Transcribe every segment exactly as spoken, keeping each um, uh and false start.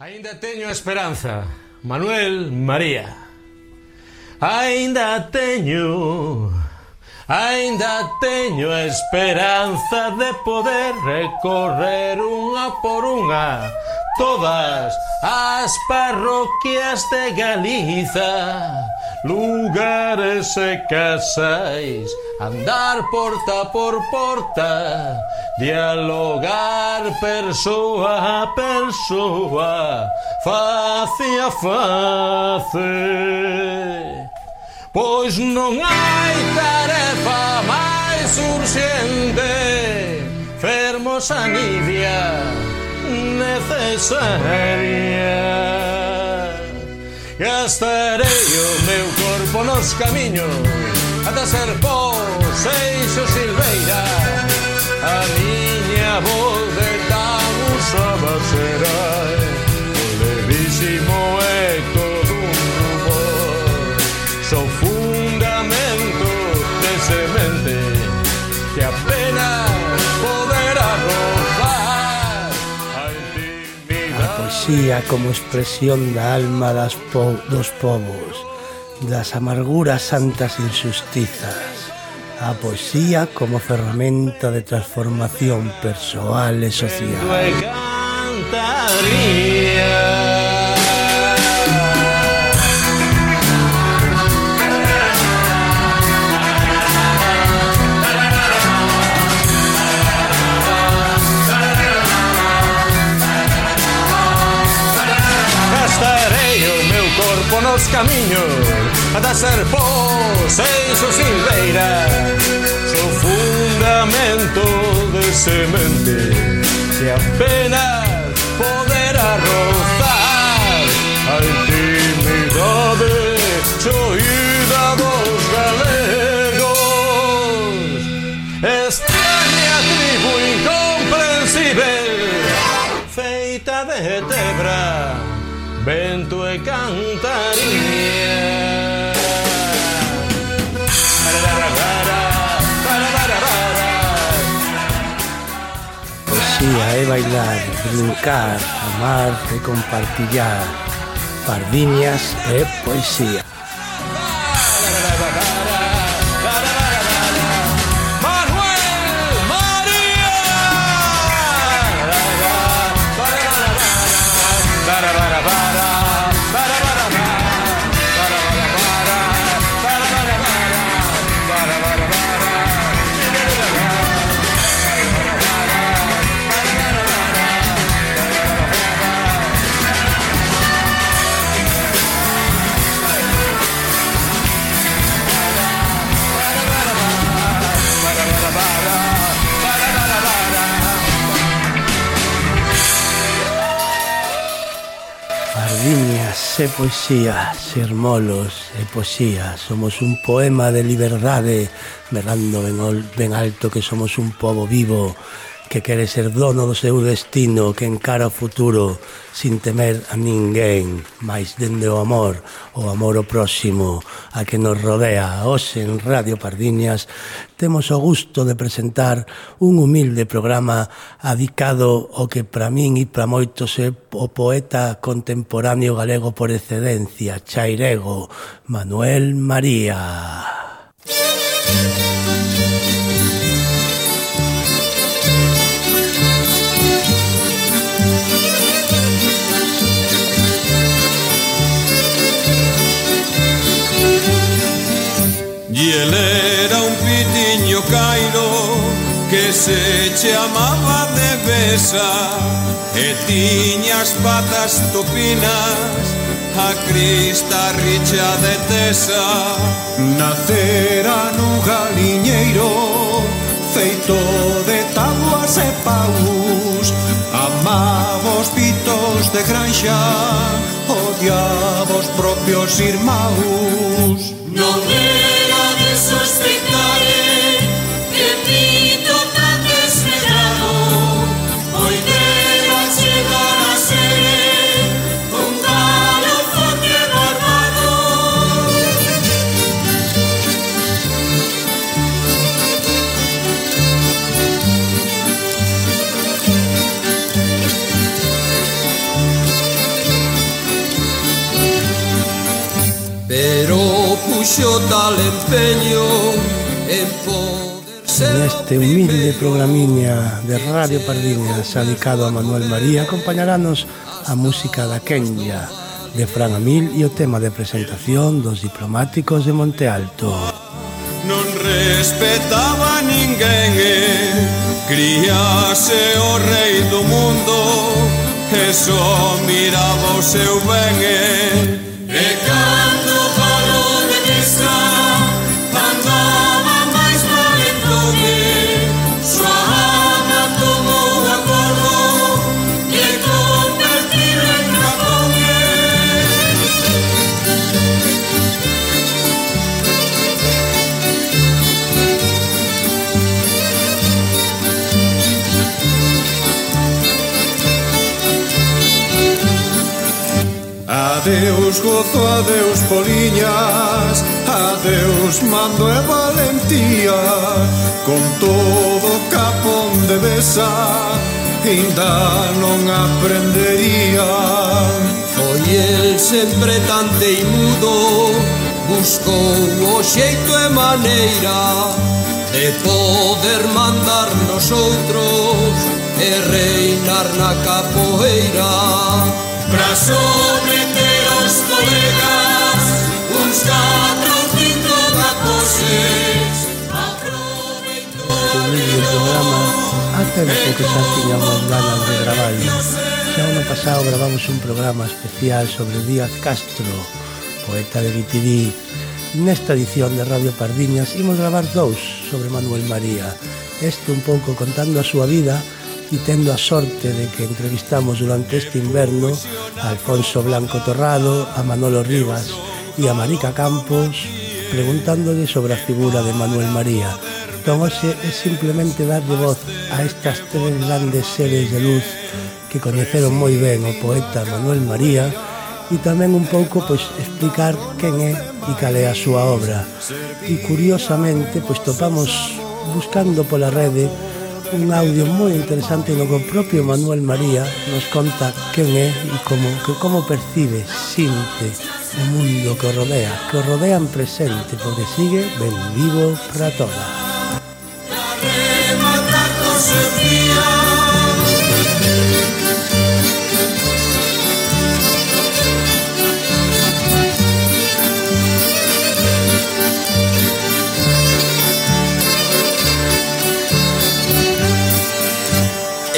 Aínda teño esperanza, Manuel María. Aínda teño, aínda teño esperanza de poder recorrer unha por unha todas as parroquias de Galiza, lugares e casais, andar porta por porta, dialogar persoa a persoa, face a face. Pois non hai tarefa máis urxente, fermos a Nidia necesaria. Gastarei o meu corpo nos camiños ata ser po Seixo Silveira. A miña voz de tan usada será o levísimo eco dun rumor. Sou fundamento de semente que apenas poderá rozar a intimidade. A poesía como expresión da alma das po dos povos, das amarguras santas injustizas. A poesía como ferramenta de transformación persoal e social. Gastarei o meu corpo nos camiños ata ser po Seixo Silveira. Sou fundamento de semente que apenas poderá rozar a intimidade choída dos galegos. Extraña tribu incomprensível, feita de tebra, vento e cantaría. Poesía é bailar, brincar, amar e compartillar. Pardiñas e poesía. Pardiñas e poesía, sermolos e poesía. Somos un poema de liberdade, berrando ben, ben alto que somos un pobo vivo que quere ser dono do seu destino, que encara o futuro sin temer a ninguén, máis dende o amor, o amor ao próximo, a que nos rodea. Hoxe en Radio Pardiñas temos o gusto de presentar un humilde programa adicado ao que para min e para moitos é o poeta contemporáneo galego por excedencia, chairego, Manuel María. Y él era un pitiño cairo que se chamaba de Besa e tiña as patas topinas, a crista richa de tesa. Nacera nun galiñeiro feito de tabuas e paus, amaba os pitos de granxa, odiaba os propios irmãos. Non era de sospitare que pito tan desmedrado poidera chegar a ser un galo forte barbado. puxo tal empeño en poder ser. Neste humilde programiña de Radio Pardiñas dedicado a Manuel María acompañarános a música da Kenya de Fran Amil e o tema de presentación dos diplomáticos de Monte Alto. Non respetaba ninguén e críase o rei do mundo e só miraba o seu ben e e cando falou de guisa andaba máis valentón e súa ama tomou o acordo de convertir en dragón e Adeus gozo, adeus poliñas, adeus mando e valentía, con todo capón de besa, ainda non aprendería. Foi el sempre tan teimudo, buscou o xeito e maneira de poder mandar nos outros e reinar na capoeira. Pra sobreter os colegas uns catro ou cinco caposes. Humilde programa a tempo que xa tiñamos ganas de gravarlo. Xa ano pasado gravamos un programa especial sobre Díaz Castro, poeta de Guitirí. Nesta edición de Radio Pardiñas imos gravar dous sobre Manuel María. Este un pouco contando a súa vida e tendo a sorte de que entrevistamos durante este inverno a Alfonso Blanco Torrado, a Manolo Rivas e a Marica Campos preguntándole sobre a figura de Manuel María. Entón, hoxe é simplemente darlle voz a estas tres grandes seres de luz que coñeceron moi ben o poeta Manuel María e tamén un pouco pois explicar quen é e cal é a súa obra. E curiosamente pois topamos buscando pola rede un audio moi interesante no que o propio Manuel María nos conta quen é e como, que como percibe, sinte o mundo que o rodea, que o rodea en presente, porque sigue ben vivo para toda.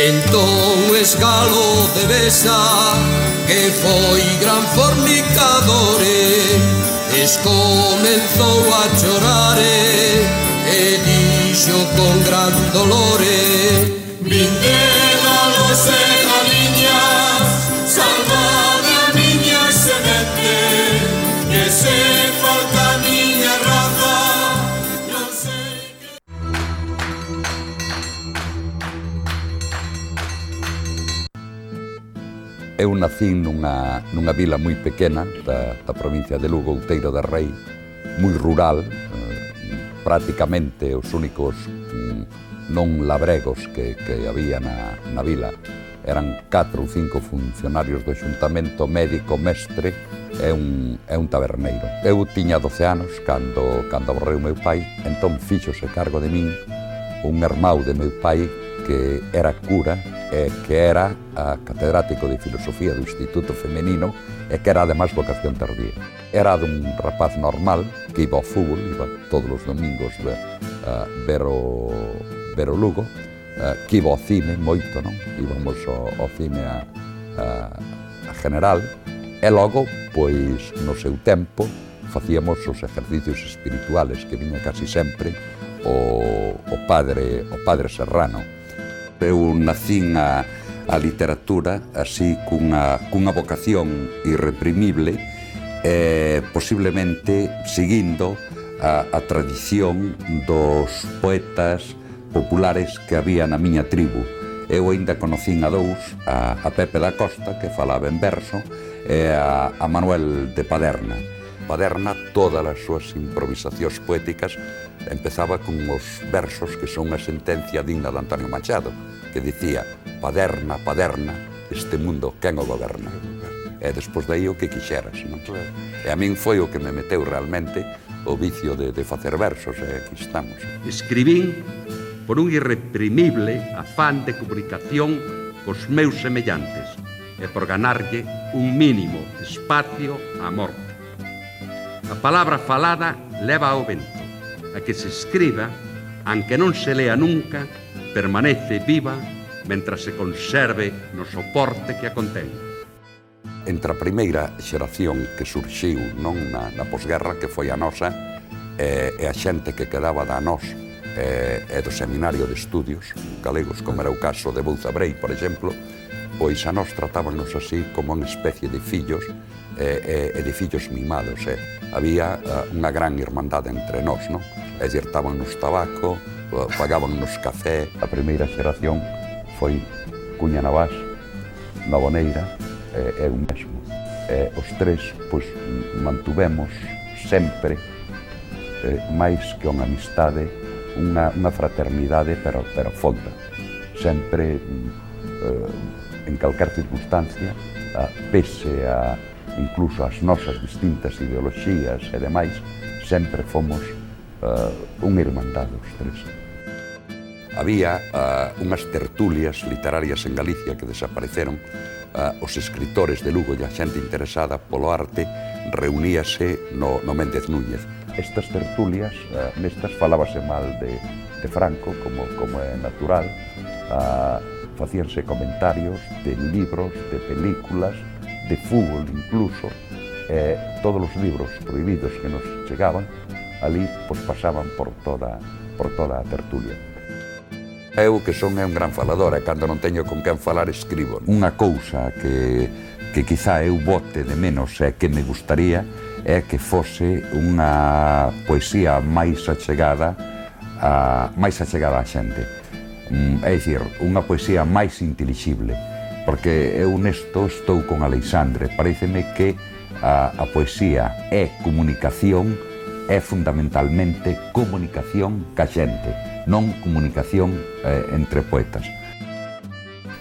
Entón escalo de besa que foi gran fornicador es comenzou a chorar e dixo con gran dolor vinde galos e galiñas salvad a miña semente que se falta a miña raza non sei. Eu nacín nunha, nunha vila moi pequena da, da provincia de Lugo, Outeiro de Rei, moi rural, eh, prácticamente os únicos mm, non labregos que, que había na, na vila eran catro ou cinco funcionarios do xuntamento, médico, mestre e un, e un taberneiro. Eu tiña doce anos cando, cando aborreu meu pai, entón fíxose cargo de min un irmão de meu pai que era cura e que era a catedrático de filosofía do Instituto Femenino e que era además vocación tardía. Era dun rapaz normal que iba ao fútbol, iba todos os domingos ver, uh, ver, o, ver o Lugo, uh, que iba ao cine moito, non? Íbamos ao, ao cine a, a, a general e logo, pois, no seu tempo, facíamos os exercicios espirituales que viña casi sempre o, o padre o padre Serrano. Eu nacín a, a literatura así cunha, cunha vocación irreprimible e posiblemente seguindo a, a tradición dos poetas populares que había na miña tribu. Eu ainda conocín a dous, a, a Pepe da Costa, que falaba en verso, e a, a Manuel de Paderna. Paderna, todas as súas improvisacións poéticas, empezaba con os versos que son unha sentencia digna de Antonio Machado, que dicía, Paderna, Paderna, este mundo quen o goberna. E despois dai o que quixeras, non? E a min foi o que me meteu realmente o vicio de, de facer versos, e aquí estamos. Escribín por un irreprimible afán de comunicación cos meus semellantes e por ganarlle un mínimo espacio á morte. A palabra falada leva ao vento. A que se escriba, aunque non se lea nunca, permanece viva mentras se conserve no soporte que a contén. Entre a primeira xeración que surxiu non na, na posguerra, que foi a nosa, e, e a xente que quedaba da nós e, e do Seminario de Estudios Galegos, como era o caso de Bouza Brei, por exemplo, pois a nós tratábanos así como unha especie de fillos e, e, e de fillos mimados. E había uh, unha gran irmandade entre nós, non? E dirtábanos tabaco, uh, pagábanos café. A primeira xeración foi Cuña Navás, Naboneira e eu mesmo. E os tres, pois, mantuvemos sempre, eh, máis que unha amistade, unha, unha fraternidade, pero, pero fonda. Sempre, eh, en calquer circunstancia, a, pese a incluso as nosas distintas ideoloxías e demais, sempre fomos uh, unha irmandade os tres. Había uh, unhas tertulias literarias en Galicia que desapareceron. Uh, os escritores de Lugo e a xente interesada polo arte reuníase no, no Méndez Núñez. Estas tertulias, uh, nestas falábase mal de, de Franco, como, como é natural, uh, facíanse comentarios de libros, de películas, de fútbol incluso, eh, todos os libros prohibidos que nos chegaban, ali pois, pasaban por toda, por toda a tertulia. Eu que son é un gran falador, e cando non teño con quen falar escribo. Unha cousa que, que quizá eu bote de menos e que me gustaría é que fose unha poesía máis achegada a, máis achegada á xente. É dicir, unha poesía máis intelixible, porque eu nesto estou con Aleixandre. Paréceme que a, a poesía é comunicación, é fundamentalmente comunicación ca xente, non comunicación eh, entre poetas.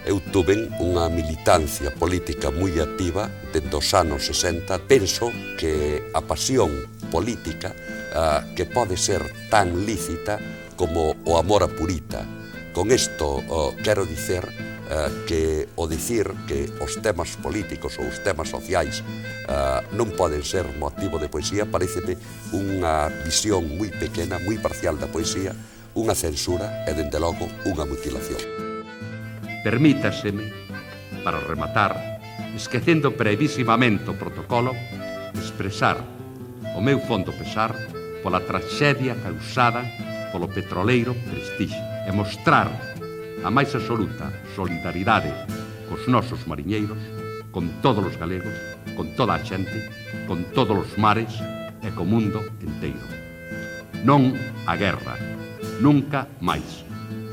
Eu tuve unha militancia política moi activa dende os anos sesenta. Penso que a pasión política uh, que pode ser tan lícita como o amor a purita. Con isto uh, quero dicer uh, que o dicir que os temas políticos ou os temas sociais uh, non poden ser motivo de poesía pareceme unha visión moi pequena, moi parcial da poesía, unha censura e, dende logo, unha mutilación. Permítaseme, para rematar, esquecendo brevísimamente o protocolo, expresar o meu fondo pesar pola traxedia causada polo petroleiro Prestige e mostrar a máis absoluta solidaridade cos nosos mariñeiros, con todos os galegos, con toda a xente, con todos os mares e co mundo enteiro. Non a guerra, nunca máis,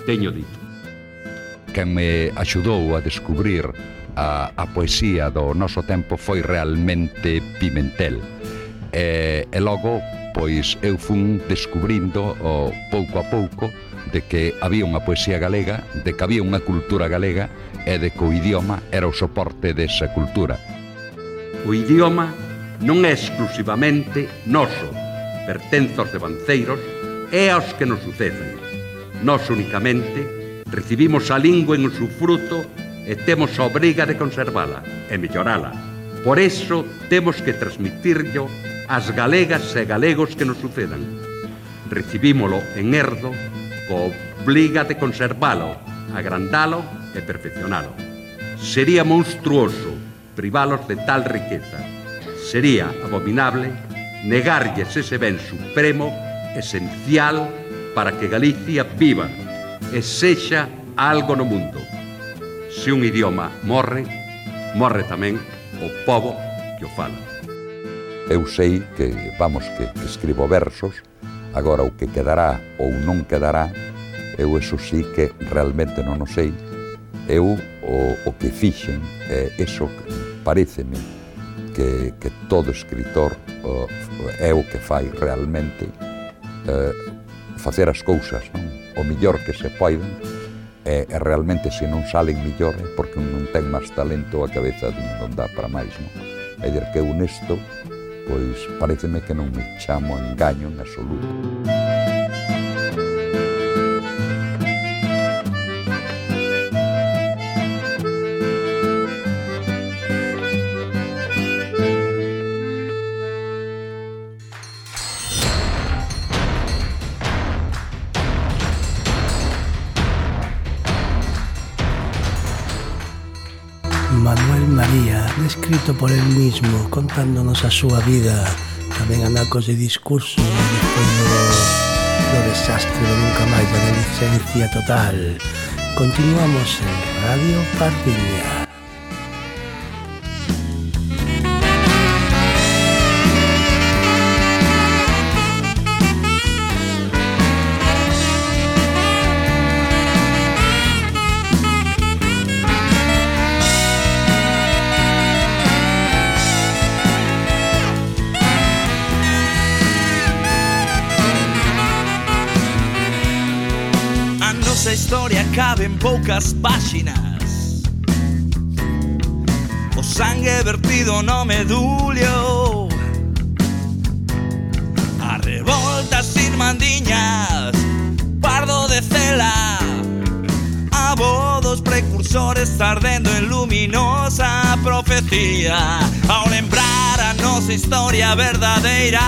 teño dito. Quen me axudou a descubrir a, a poesía do noso tempo foi realmente Pimentel. E, e logo, pois, eu fun descubrindo o, pouco a pouco de que había unha poesía galega, de que había unha cultura galega e de que o idioma era o soporte desa cultura. O idioma non é exclusivamente noso, pertence aos devanceiros e aos que nos suceden. Nós únicamente recibimos a lingua en o seu fruto e temos a obriga de conservala e mellorala. Por eso temos que transmitirlo ás galegas e galegos que nos sucedan. Recibímolo en herdo co obriga de conservalo, agrandalo e perfeccionalo. Sería monstruoso privalos de tal riqueza. Sería abominable negarlles ese ben supremo esencial para que Galicia viva e sexa algo no mundo. Se un idioma morre, morre tamén o pobo que o fala. Eu sei que, vamos, que, que escribo versos, agora o que quedará ou non quedará, eu eso sí que realmente non o sei. Eu o, o que fixen, é eso pareceme que, que todo escritor o, é o que fai realmente, eh, facer as cousas, non? O millor que se poiden, e, e realmente se non salen millor é porque non ten máis talento a cabeza non dá para máis, non? É dicir que eu nesto pois pareceme que non me chamo engaño en absoluto. Manuel María, descrito por él mismo, contándonos a súa vida, tamén anacos de discurso despois do, do desastre do nunca máis da licencia total. Continuamos en Radio Pardiña. A historia cabe en poucas páxinas. O sangue vertido no medullo, a revolta sin mandiñas, pardo de cela, a vodos precursores ardendo en luminosa profecía. Ao lembrar a nosa historia verdadeira,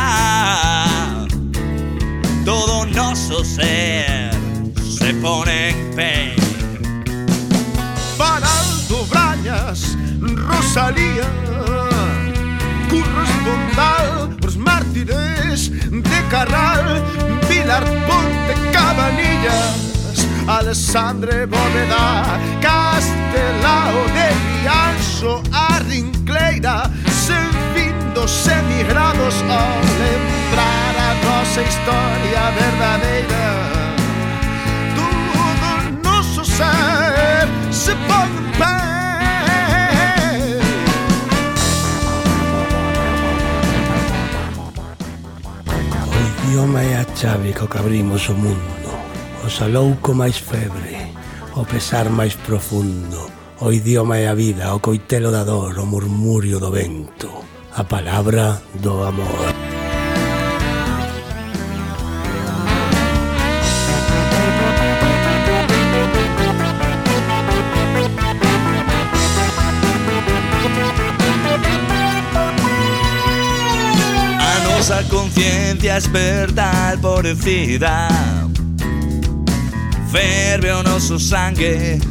todo noso ser se pone en pé. Para Alto Brañas, Rosalía, Curros Bondal, os mártires de Carral, Vilar Ponte, Cabanillas, Alexandre Bóveda, Castelao de Rianxo, a Rincleira, sen fin dos emigrados, ao lembrar a nosa historia verdadeira, se pon en pé. O idioma é a chave co que abrimos o mundo, o salouco máis febre, o pesar máis profundo. O idioma é a vida, o coitelo da dor, o murmurio do vento, a palabra do amor. A conciencia esperta alporecida, ferve o noso sangue,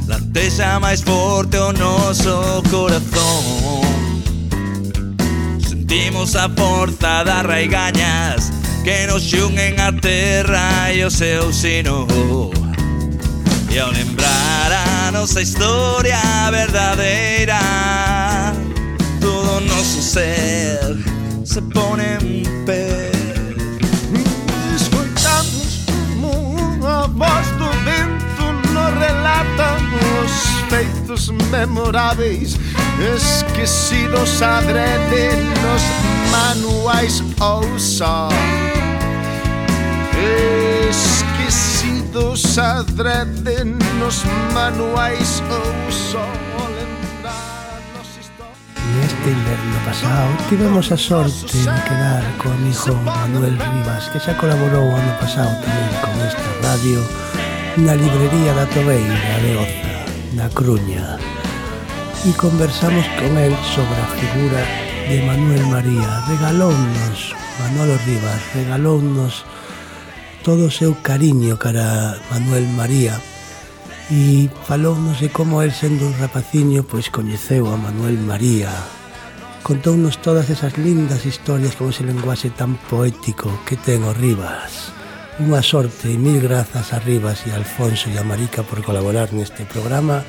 latexa máis forte o noso corazón. Sentimos a forza das raigañas que nos xungen a terra e o seu sino. E ao lembrar a nosa historia verdadeira, todo o noso ser se pone en pé. Escoitamos unha voz do vento, nos relata os feitos memoráveis, esquecidos adrede nos manuais ou só, esquecidos adrede nos manuais ou só. Neste inverno pasado tivemos a sorte de quedar co amigo Manuel Rivas, que xa colaborou ano pasado tamén con esta radio na librería da Tobeira de Oza, na Cruña, e conversamos con el sobre a figura de Manuel María. Regalounos, Manolo Rivas, regalounos todo o seu cariño cara Manuel María, e falounos de como el, sendo un rapaciño, pois coñeceu a Manuel María. Contounos todas esas lindas historias con ese lenguaxe tan poético que ten o Rivas. Unha sorte e mil grazas a Rivas e a Alfonso e a Marica por colaborar neste programa,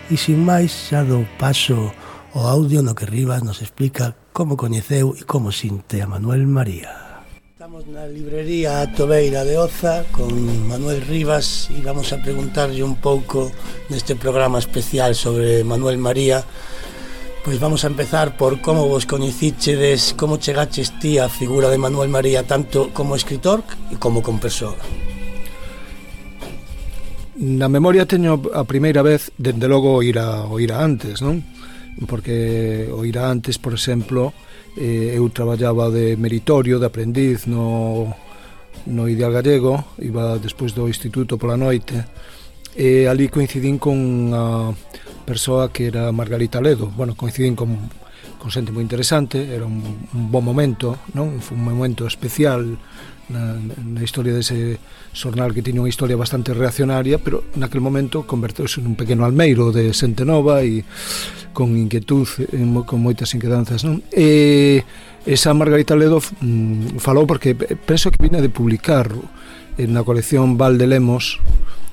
e sin máis xa dou paso ao audio no que Rivas nos explica como coñeceu e como sinte a Manuel María. Estamos na librería Tobeira de Oza con Manuel Rivas e vamos a preguntarlle un pouco neste programa especial sobre Manuel María. Pois vamos a empezar por como vos coñecichedes, como chegaches ti a figura de Manuel María, tanto como escritor e como como persoa. Na memoria teño a primeira vez, dende logo, oíra, oíra antes, non? porque o irá antes, por exemplo, eh, eu traballaba de meritorio, de aprendiz no, no Ideal Gallego, iba despois do instituto pola noite, e ali coincidín con a persoa que era Margarita Ledo. Bueno, coincidín con, con xente moi interesante, era un, un bon momento, non? Foi un momento especial na, na historia dese xornal que tiña unha historia bastante reaccionaria, pero naquel momento converteuse nun pequeno almeiro de xente nova e con inquietud, con moitas inquedanzas, non? E esa Margarita Ledo mm, falou porque penso que vine de publicar na colección Val de Lemos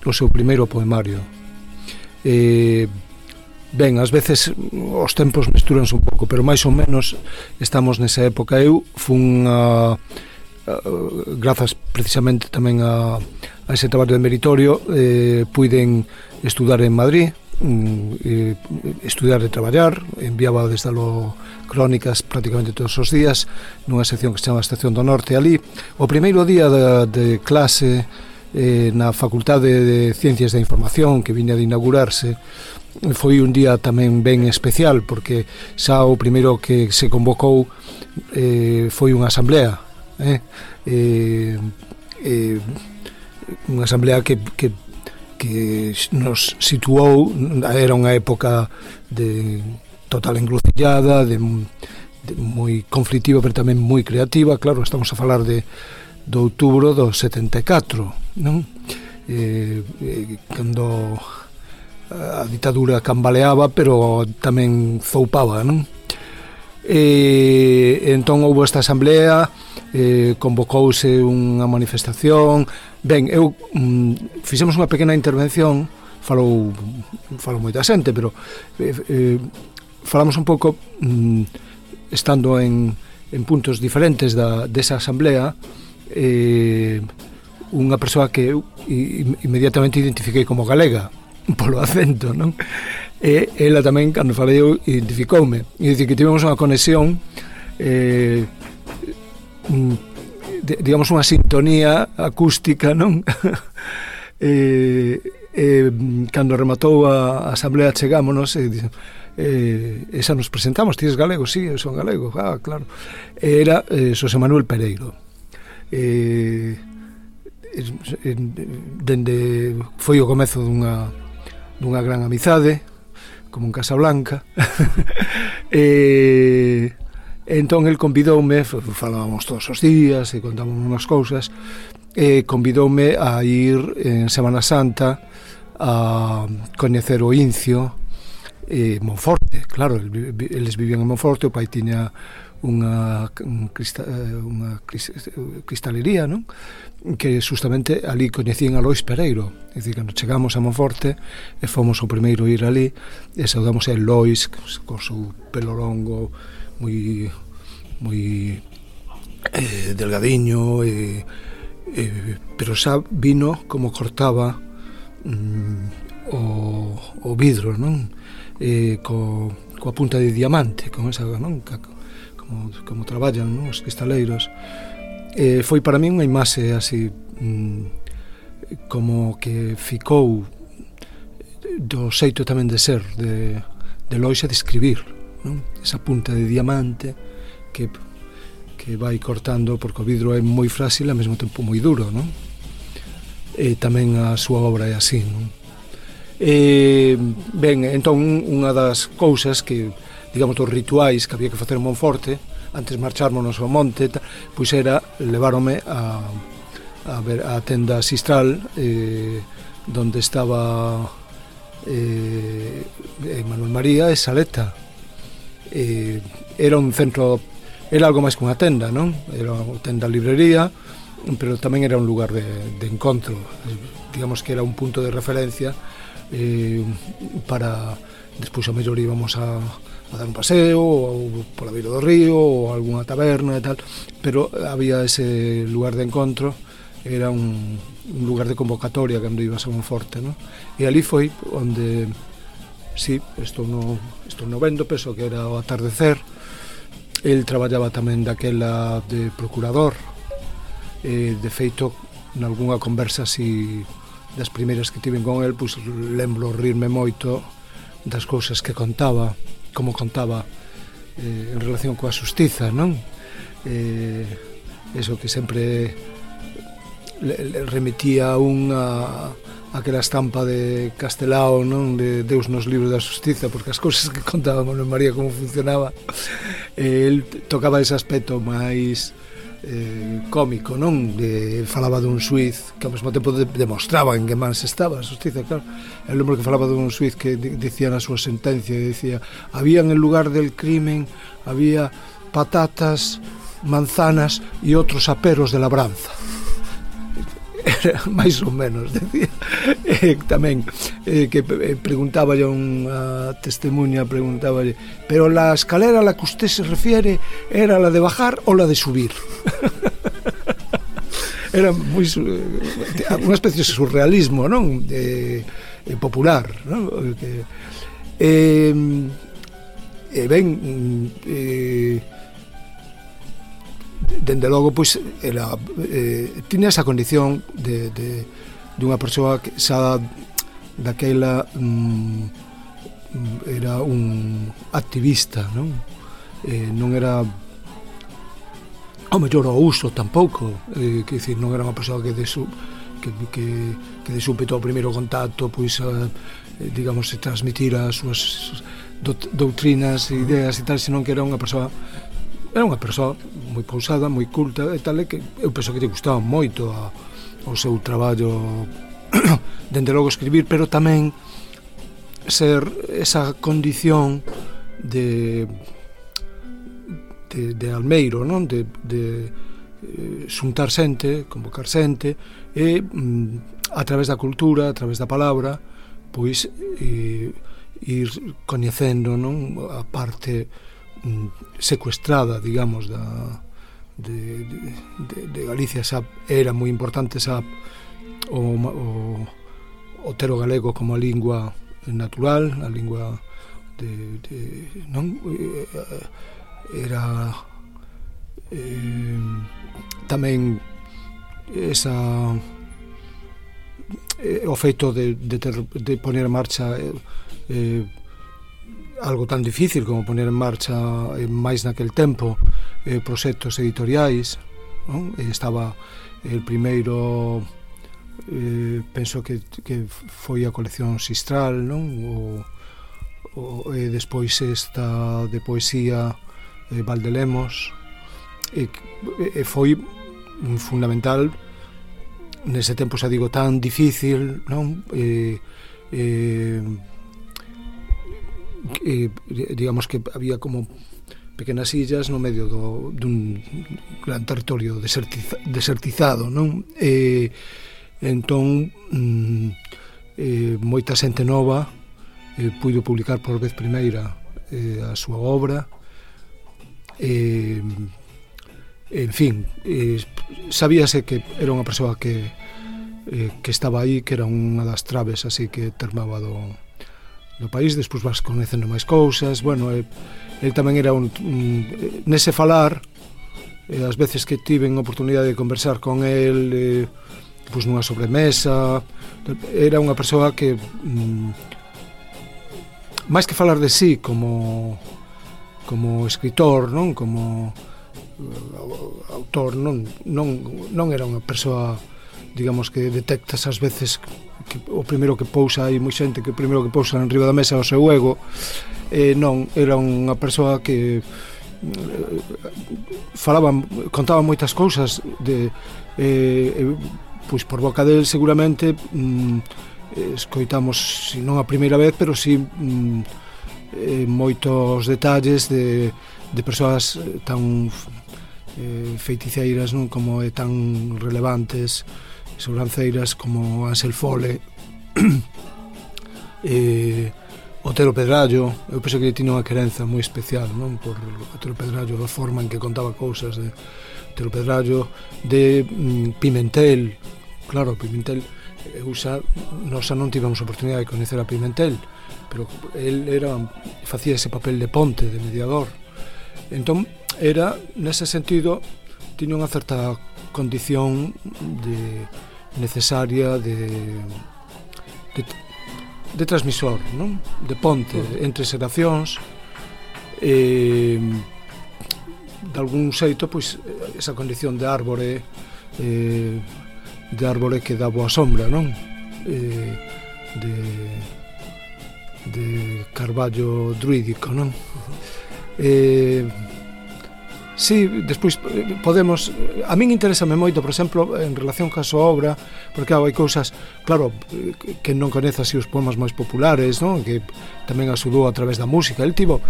o seu primeiro poemario. E, ben, ás veces os tempos mestúranse un pouco, pero máis ou menos estamos nesa época. Eu fun a, a, grazas precisamente tamén a, a ese traballo de meritorio, eh, puiden estudar en Madrid, eh, estudar e traballar, enviaba desde lo crónicas prácticamente todos os días nunha sección que se chama Estación do Norte. Ali, o primeiro día de, de clase eh, na Facultade de Ciencias da Información, que viña de inaugurarse, foi un día tamén ben especial, porque xa o primeiro que se convocou eh, foi unha asamblea, eh, eh, eh, unha asamblea que, que, que nos situou, era unha época de total encrucillada, de, de moi conflictiva, pero tamén moi creativa. Claro, estamos a falar de do outubro do setenta e catro, non? Eh, eh, cando a ditadura cambaleaba, pero tamén zoupaba, non? E entón houve esta asamblea, eh, convocouse unha manifestación. Ben, eu mm, fixemos unha pequena intervención, falou falou moita xente, pero eh, eh, falamos un pouco mm, estando en, en puntos diferentes da, desa asamblea. Eh, unha persoa que eu inmediatamente identifiquei como galega polo acento, non? E ela tamén, cando falei eu, identificoume, e dicir que tivemos unha conexión, eh, de, digamos unha sintonía acústica, non? e, e cando rematou a, a asamblea chegámonos e dicen, eh, esa nos presentamos, ti es galego? Sí, eu son galego. Ah, claro. Era eh, Xosé Manuel Pereiro. Eh, dende foi o comezo dunha dunha gran amizade, como en Casablanca. E entón el convidoume, falábamos todos os días e contábamos unhas cousas, e convidoume a ir en Semana Santa a coñecer o Incio e Monforte. Claro, eles vivían en Monforte, o pai tiña unha, crista, unha cristalería, non? Que justamente ali coñecían a Lois Pereiro. É dicir, cando chegamos a Monforte e fomos o primeiro a ir ali e saudamos a Lois co seu pelo longo moi moi eh, delgadiño e, eh, pero xa vino como cortaba mm, o, o vidro, non? Eh, co, coa punta de diamante, con esa, non? Como, como traballan, non? Os cristaleiros. Eh, foi para mí unha imaxe así mm, como que ficou do xeito tamén de ser de, de Lois e de escribir, non? Esa punta de diamante que, que vai cortando, porque o vidro é moi frágil e ao mesmo tempo moi duro, non? E tamén a súa obra é así, non? E, ben, entón unha das cousas que, digamos, dos rituais que había que facer en Monforte antes marchármonos ao monte, pois era leváronme a, a ver a tenda Sistral, eh, donde estaba eh, Manuel María e Saleta. Eh, era un centro, era algo máis que unha tenda, non? Era unha tenda librería, pero tamén era un lugar de, de encontro, digamos que era un punto de referencia eh, para despois a mellor íbamos a a dar un paseo ou pola beira do río ou algunha taberna e tal, pero había ese lugar de encontro, era un, un lugar de convocatoria cando ibas a Monforte, ¿no? E ali foi onde, sí, estou no, estou no vendo, penso que era o atardecer. El traballaba tamén daquela de procurador, e de feito nalgúna conversa así das primeiras que tiven con el, pois lembro rirme moito das cousas que contaba. como contaba eh, en relación coa xustiza, non? Eh, eso que sempre le, le remitía un a aquela estampa de Castelao, non, de Deus nos libros da xustiza, porque as cousas que contaba Manuel María como funcionaba, eh, el tocaba ese aspecto máis eh, cómico, non? De, falaba dun xuiz que ao mesmo tempo de, demostraba en que mans estaba a xustiza, claro. Eu lembro que falaba dun xuiz que dicía na súa sentencia, dicía, había en el lugar del crimen, había patatas, manzanas e outros aperos de labranza. Era máis ou menos, decía. Eh, tamén eh, que eh, preguntaba a unha testemunha, preguntaba, pero la escalera a la que usted se refiere era la de bajar o la de subir. Era moi unha especie de surrealismo, non? Eh, eh, popular, non? Que, eh, eh, ben eh, dende logo, pois, era, eh, tiña esa condición de, de, de unha persoa que xa daquela mm, era un activista, non? Eh, non era ao mellor ao uso tampouco, eh, que dicir, non era unha persoa que de, su, que, que, que de súpeto ao primeiro contacto, pois, a, eh, digamos, se transmitira as súas doutrinas, ideas e tal, senón que era unha persoa era unha persoa moi pausada, moi culta e tal, e que eu penso que lle gustaba moito a, o seu traballo dende logo escribir, pero tamén ser esa condición de de, de almeiro, non? De, de eh, xuntar xente, convocar xente e mm, a través da cultura, a través da palabra, pois eh, ir coñecendo, non? A parte secuestrada, digamos, da de, de, de Galicia. Xa era moi importante xa o, o, o ter o galego como a lingua natural, a lingua de, de non era eh, tamén esa eh, o feito de, de, ter, de poner en marcha eh, eh, algo tan difícil como poner en marcha eh, máis naquel tempo eh, proxectos editoriais, non? Estaba el primeiro eh, penso que, que foi a colección Sistral, non? O, o, e despois esta de poesía eh, Valdelemos e, e foi fundamental nese tempo, xa digo, tan difícil, non? E, e, Eh, digamos que había como pequenas illas no medio do, dun gran territorio desertiza, desertizado, non? E entón mm, eh, moita xente nova eh, puido publicar por vez primeira eh, a súa obra, eh, en fin, eh, sabíase que era unha persoa que eh, que estaba aí, que era unha das traves así que termaba do do país. Despois vas conhecendo máis cousas. Bueno, el, el tamén era un, un nese falar, eh, as veces que tiven oportunidade de conversar con el, eh, pois nunha sobremesa, era unha persoa que mm, máis que falar de sí como como escritor, non, como uh, autor, non, non, non era unha persoa, digamos, que detectas ás veces que o primeiro que pousa, hai moi xente que o primeiro que pousa en riba da mesa é o seu ego. Eh, non, era unha persoa que eh, falaba, contaba moitas cousas de, eh, pois por boca del seguramente mm, escoitamos, si non a primeira vez, pero si mm, eh, moitos detalles de, de persoas tan eh, feiticeiras, non, como é tan relevantes, sobranceiras como Ansel Fole, eh, Otero Pedrallo. Eu penso que tiña unha querenza moi especial, non, por Otero Pedrallo, a forma en que contaba cousas de Otero Pedrallo, de mm, Pimentel. Claro, Pimentel, eu xa, nós xa non tivemos oportunidade de coñecer a Pimentel, pero el era, facía ese papel de ponte, de mediador. Entón, era, nese sentido, tiña unha certa condición de necesaria de, de de transmisor, non? De ponte entre xeracións eh, de algún xeito, pois, esa condición de árbore, eh, de árbore que dá boa sombra, non? Eh, de, de carballo druídico, non? Eh, sí, despois podemos, a min interésame moito, por exemplo, en relación ca súa obra, porque hai cousas, claro, que non coñece así os poemas máis populares, non? Que tamén axudou a través da música. El tivo,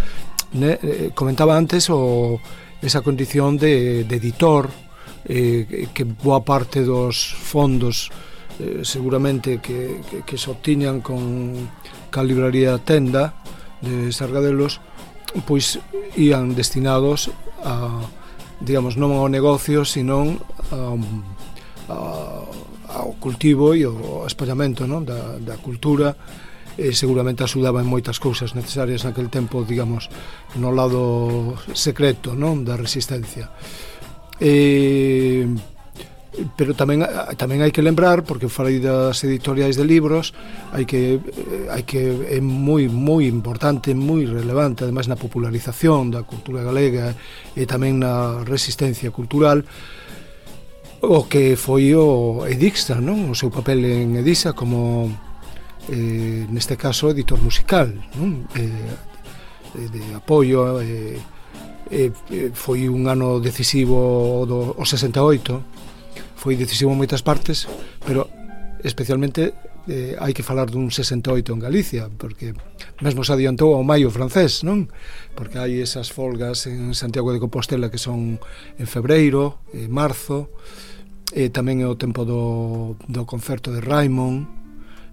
ne, comentaba antes o, esa condición de, de editor, eh, que boa parte dos fondos eh, seguramente que, que, que se obtiñan con ca libraría Tenda de Sargadelos, pois ían destinados a, digamos, non ao negocio, sino a, a, ao cultivo e ao espallamento, non? Da, da cultura. E seguramente axudaba en moitas cousas necesarias naquele tempo, digamos, no lado secreto, non? Da resistencia. E, pero tamén tamén hai que lembrar, porque falei das editoriais de libros, hai que hai que é moi moi importante, moi relevante, ademais na popularización da cultura galega e tamén na resistencia cultural, o que foi o Edixtra, non? O seu papel en Edisa como eh, neste caso editor musical, non? Eh, de apoio, eh, eh, foi un ano decisivo do o sesenta e oito, foi decisivo en moitas partes, pero especialmente eh, hai que falar dun sesenta e oito en Galicia, porque mesmo se adiantou ao maio francés, non? Porque hai esas folgas en Santiago de Compostela que son en febreiro, en marzo, e tamén é o tempo do, do concerto de Raimon,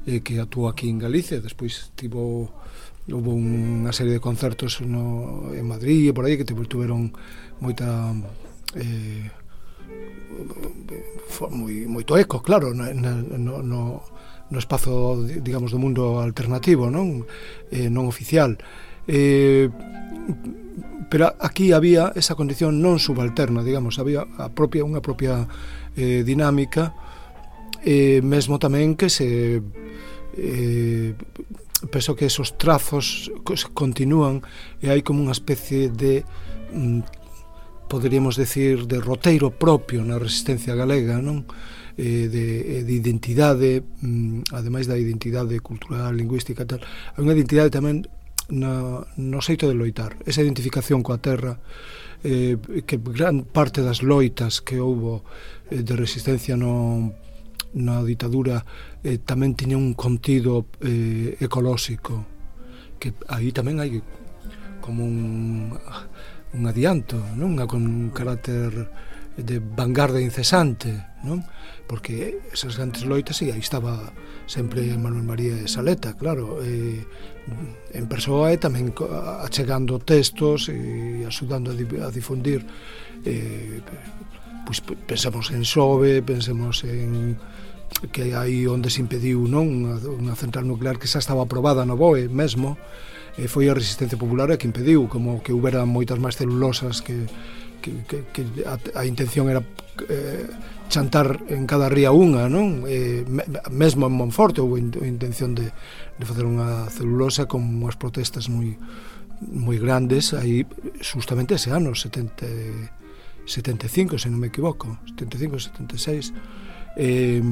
eh, que actuou aquí en Galicia. Despois tivo, houve unha serie de concertos no, en Madrid e por aí que tiveron moita... Eh, moi, moito eco, claro, no, no, no, no espazo, digamos, do mundo alternativo, non? Eh, non oficial. Eh, pero aquí había esa condición non subalterna, digamos, había a propia, unha propia eh, dinámica, eh, mesmo tamén que se eh, penso que esos trazos continúan e hai como unha especie de mm, poderíamos decir de roteiro propio na resistencia galega, non? Eh, de, de identidade, mm, ademais da identidade cultural, lingüística e tal, hai unha identidade tamén no, no xeito de loitar, esa identificación coa terra, eh, que gran parte das loitas que houbo eh, de resistencia no, na ditadura eh, tamén tiña un contido eh, ecolóxico, que aí tamén hai como un un adianto, non? Con un carácter de vanguarda incesante, non? Porque esas grandes loitas, e aí estaba sempre Manuel María de Saleta, claro, eh, en persoa e tamén achegando textos e axudando a difundir, eh, pois pensamos en Xove, pensemos en que aí onde se impediu, non? Unha, unha central nuclear que xa estaba aprobada no B O E mesmo, e foi a resistencia popular a que impediu, como que houbera moitas máis celulosas, que, que, que, que a, a intención era eh, chantar en cada ría unha, non? Eh, mesmo en Monforte houve a intención de, de facer unha celulosa con unhas protestas moi moi grandes, aí justamente ese ano, setenta, setenta e cinco, se non me equivoco, setenta e cinco, setenta e seis, eh,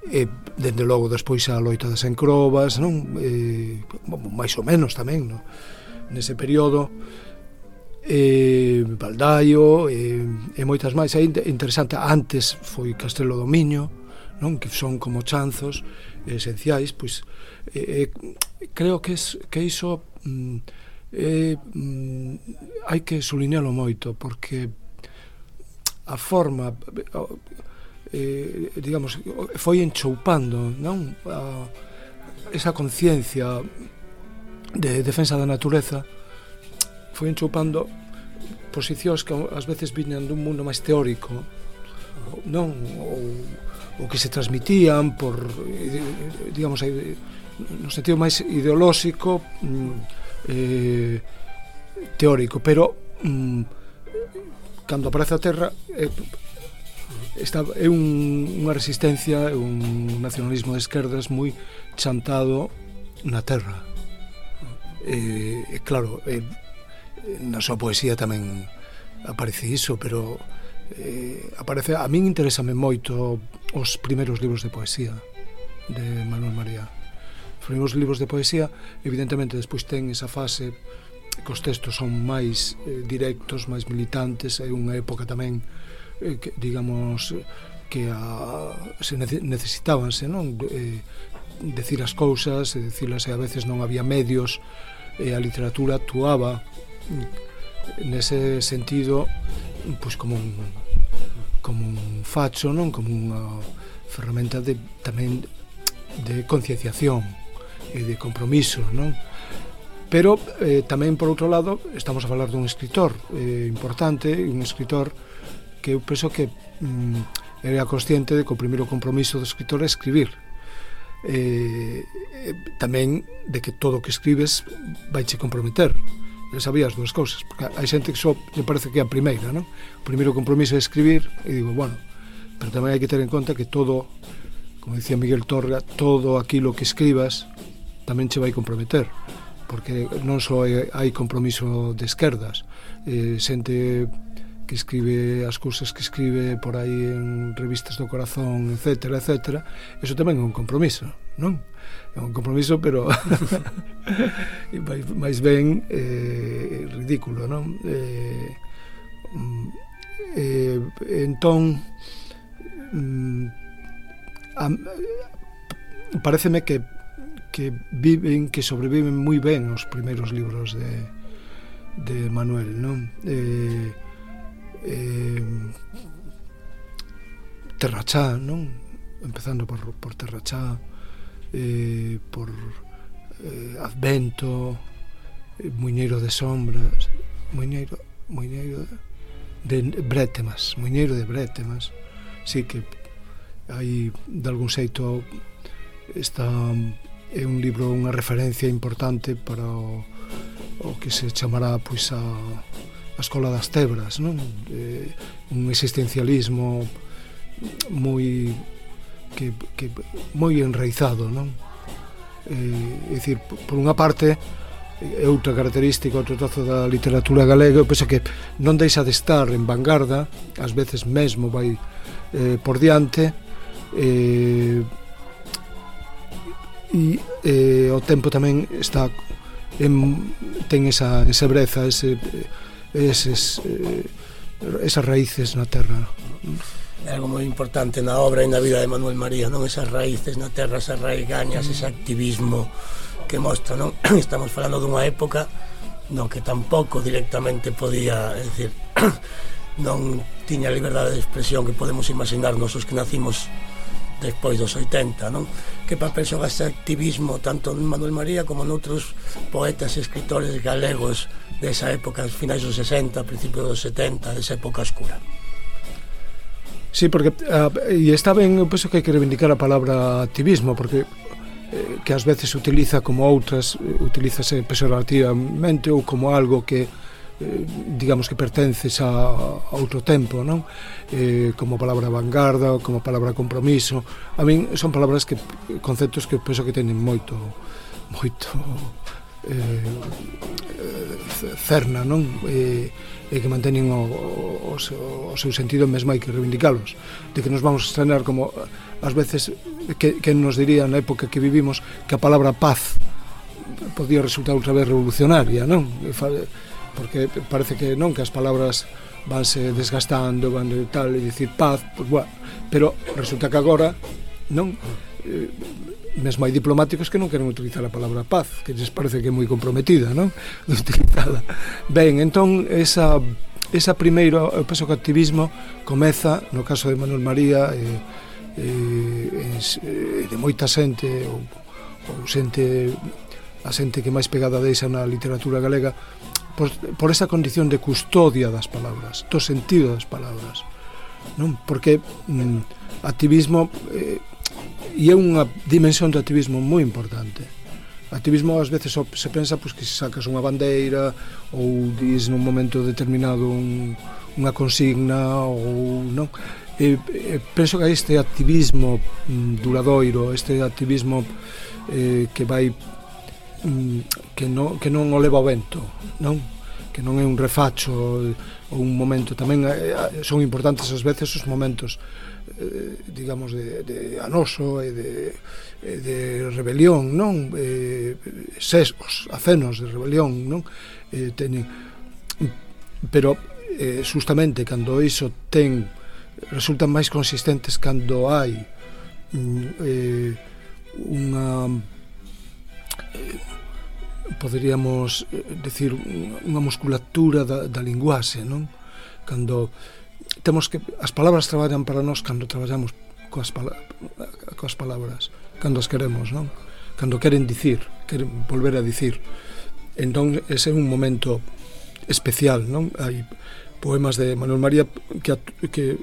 e dende logo despois a loita das encrobas, non? Eh, máis ou menos tamén, non? Nese período, eh, Baldaio e, e moitas máis. É interesante, antes foi Castelo do Miño, non? Que son como chanzos esenciais, pois eh, creo que, es, que iso eh, mm, hai que subliñalo moito, porque a forma... Eh, digamos, foi enchoupando, non? A, esa conciencia de defensa da natureza foi enchoupando posicións que ás veces viñan dun mundo máis teórico, non? Ou, ou que se transmitían por, digamos, no sentido máis ideolóxico, eh, teórico, pero mm, cando aparece a Terra eh, Esta, é un, unha resistencia, un nacionalismo de esquerdas moi chantado na terra. E, eh, claro, eh, na súa poesía tamén aparece iso, pero eh, aparece, a min interésame moito os primeiros libros de poesía de Manuel María. Os primeiros libros de poesía, evidentemente, despois ten esa fase que os textos son máis eh, directos, máis militantes. É unha época tamén eh, que, digamos, que a, se necesitábanse, non? Eh, decir as cousas, e dicilas, e a veces non había medios, e a literatura actuaba nese sentido, pois como un como un facho, non? Como unha ferramenta de tamén de concienciación e de compromiso, non? Pero eh, tamén, por outro lado, estamos a falar dun escritor eh, importante, un escritor que eu penso que mm, era consciente de que o primeiro compromiso do escritor é escribir. Eh, eh, tamén de que todo o que escribes vai che comprometer. Eu sabía as dúas cousas, porque hai xente que só me parece que é a primeira, non? O primeiro compromiso é escribir, e digo, bueno, pero tamén hai que ter en conta que todo, como dicía Miguel Torga, todo aquilo que escribas tamén che vai comprometer, porque non só hai compromiso de esquerdas, eh, xente que escribe as cousas que escribe por aí en revistas do corazón, etcétera, etcétera, eso tamén é un compromiso, non? É un compromiso, pero máis ben eh, ridículo, non? Eh, eh, entón mm, a, pareceme que que viven, que sobreviven moi ben os primeiros libros de de Manuel, non? Eh, eh, Terrachá, non? Empezando por, por Terrachá, eh, por eh, Advento, eh, Muiñeiro de Sombras, Muiñeiro, Muiñeiro de Brétemas, Muiñeiro de Brétemas. Sí que hai, de algún xeito, está, é un libro, unha referencia importante para o, o que se chamará, pois, a, a Escola das Tebras, non? Eh, un existencialismo moi que, que moi enraizado, non? Eh, é dicir, por unha parte, é outra característica, outro trozo da literatura galega, eu penso que non deixa de estar en vanguarda, ás veces mesmo vai eh, por diante, eh, e eh, o tempo tamén está en, ten esa, esa breza, ese, eses, eh, esas raíces na terra. É algo moi importante na obra e na vida de Manuel María, non? Esas raíces na terra, esas raigañas, ese activismo que mostra, non? Estamos falando dunha época no que tampouco directamente podía, é dicir, non tiña a liberdade de expresión que podemos imaginarnos os que nacimos despois dos oitenta, non? Que papel xoga ese activismo tanto en Manuel María como noutros poetas e escritores galegos desa época, finais dos sesenta, principios dos setenta, desa época oscura? Sí, porque uh, e está ben, eu penso que hai que reivindicar a palabra activismo, porque eh, que ás veces se utiliza como outras, eh, utilízase pejorativamente ou como algo que eh, digamos que pertences a, a outro tempo, non? Eh, como palabra vanguarda, como palabra compromiso. A min son palabras que, conceptos que penso que teñen moito moito eh, cerna, non? Eh, e que manteñen o, o, o seu sentido, mesmo hai que reivindicalos, de que nos vamos a estrenar como ás veces que, que nos diría na época que vivimos que a palabra paz podía resultar outra vez revolucionaria, non? Porque parece que non, que as palabras vanse desgastando, van de tal, e dicir paz, pues, bueno, pero resulta que agora non, eh, mesmo hai diplomáticos que non queren utilizar a palabra paz, que lles parece que é moi comprometida, non? De utilizala. Ben, entón, esa, esa primeiro, eu penso que o activismo comeza, no caso de Manuel María, e, e, e de moita xente, ou, ou xente, a xente que máis pegada deixa na literatura galega, por, por esa condición de custodia das palabras, do sentido das palabras, non? Porque mm, activismo... Eh, e é unha dimensión do activismo moi importante. O activismo ás veces se pensa pois, que se sacas unha bandeira ou dis nun momento determinado un, unha consigna ou non. E, e penso que este activismo mm, duradoiro, este activismo eh, que vai que non, que non o leva o vento, non? Que non é un refacho ou un momento. Tamén son importantes ás veces os momentos eh, digamos de, de anoso e de, de rebelión, non? Eh, sesgos, acenos de rebelión, non? Eh, teñen, pero eh, justamente cando iso ten resultan máis consistentes cando hai eh, unha eh, poderíamos decir unha musculatura da, da linguaxe, non? Cando temos que as palabras traballan para nós cando traballamos coas, pala, coas palabras, cando as queremos, non? Cando queren dicir, queren volver a dicir. Entón ese é un momento especial, non? Hai poemas de Manuel María que, que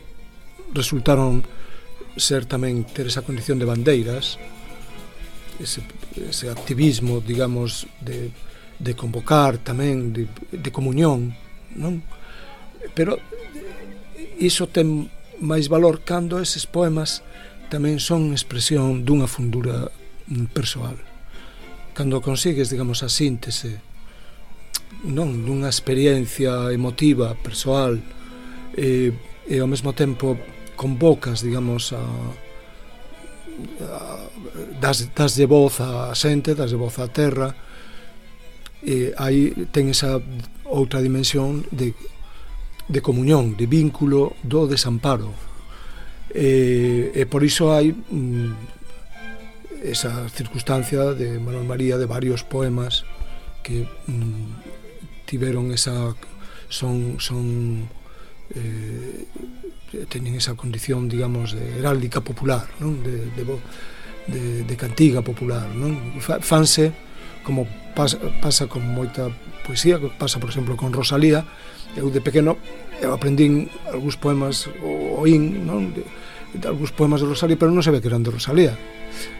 resultaron ser tamén ter esa condición de bandeiras, ese, ese activismo, digamos, de, de convocar tamén, de, de comunión, non? Pero iso ten máis valor cando eses poemas tamén son expresión dunha fundura persoal. Cando consigues, digamos, a síntese, non, dunha experiencia emotiva, persoal, e, e ao mesmo tempo convocas, digamos, a, a das, das de voz a xente, das de voz á terra, e aí ten esa outra dimensión de, de comunión, de vínculo do desamparo, e, e por iso hai mm, esa circunstancia de Manuel María de varios poemas que mm, tiveron esa son son eh, teñen esa condición, digamos, de heráldica popular, non? De, de, de, de cantiga popular, non? Fanse como pasa, pasa con moita poesía, que pasa, por exemplo, con Rosalía. Eu de pequeno eu aprendín algúns poemas, oín, non? De, de algúns poemas de Rosalía, pero non sabía que eran de Rosalía,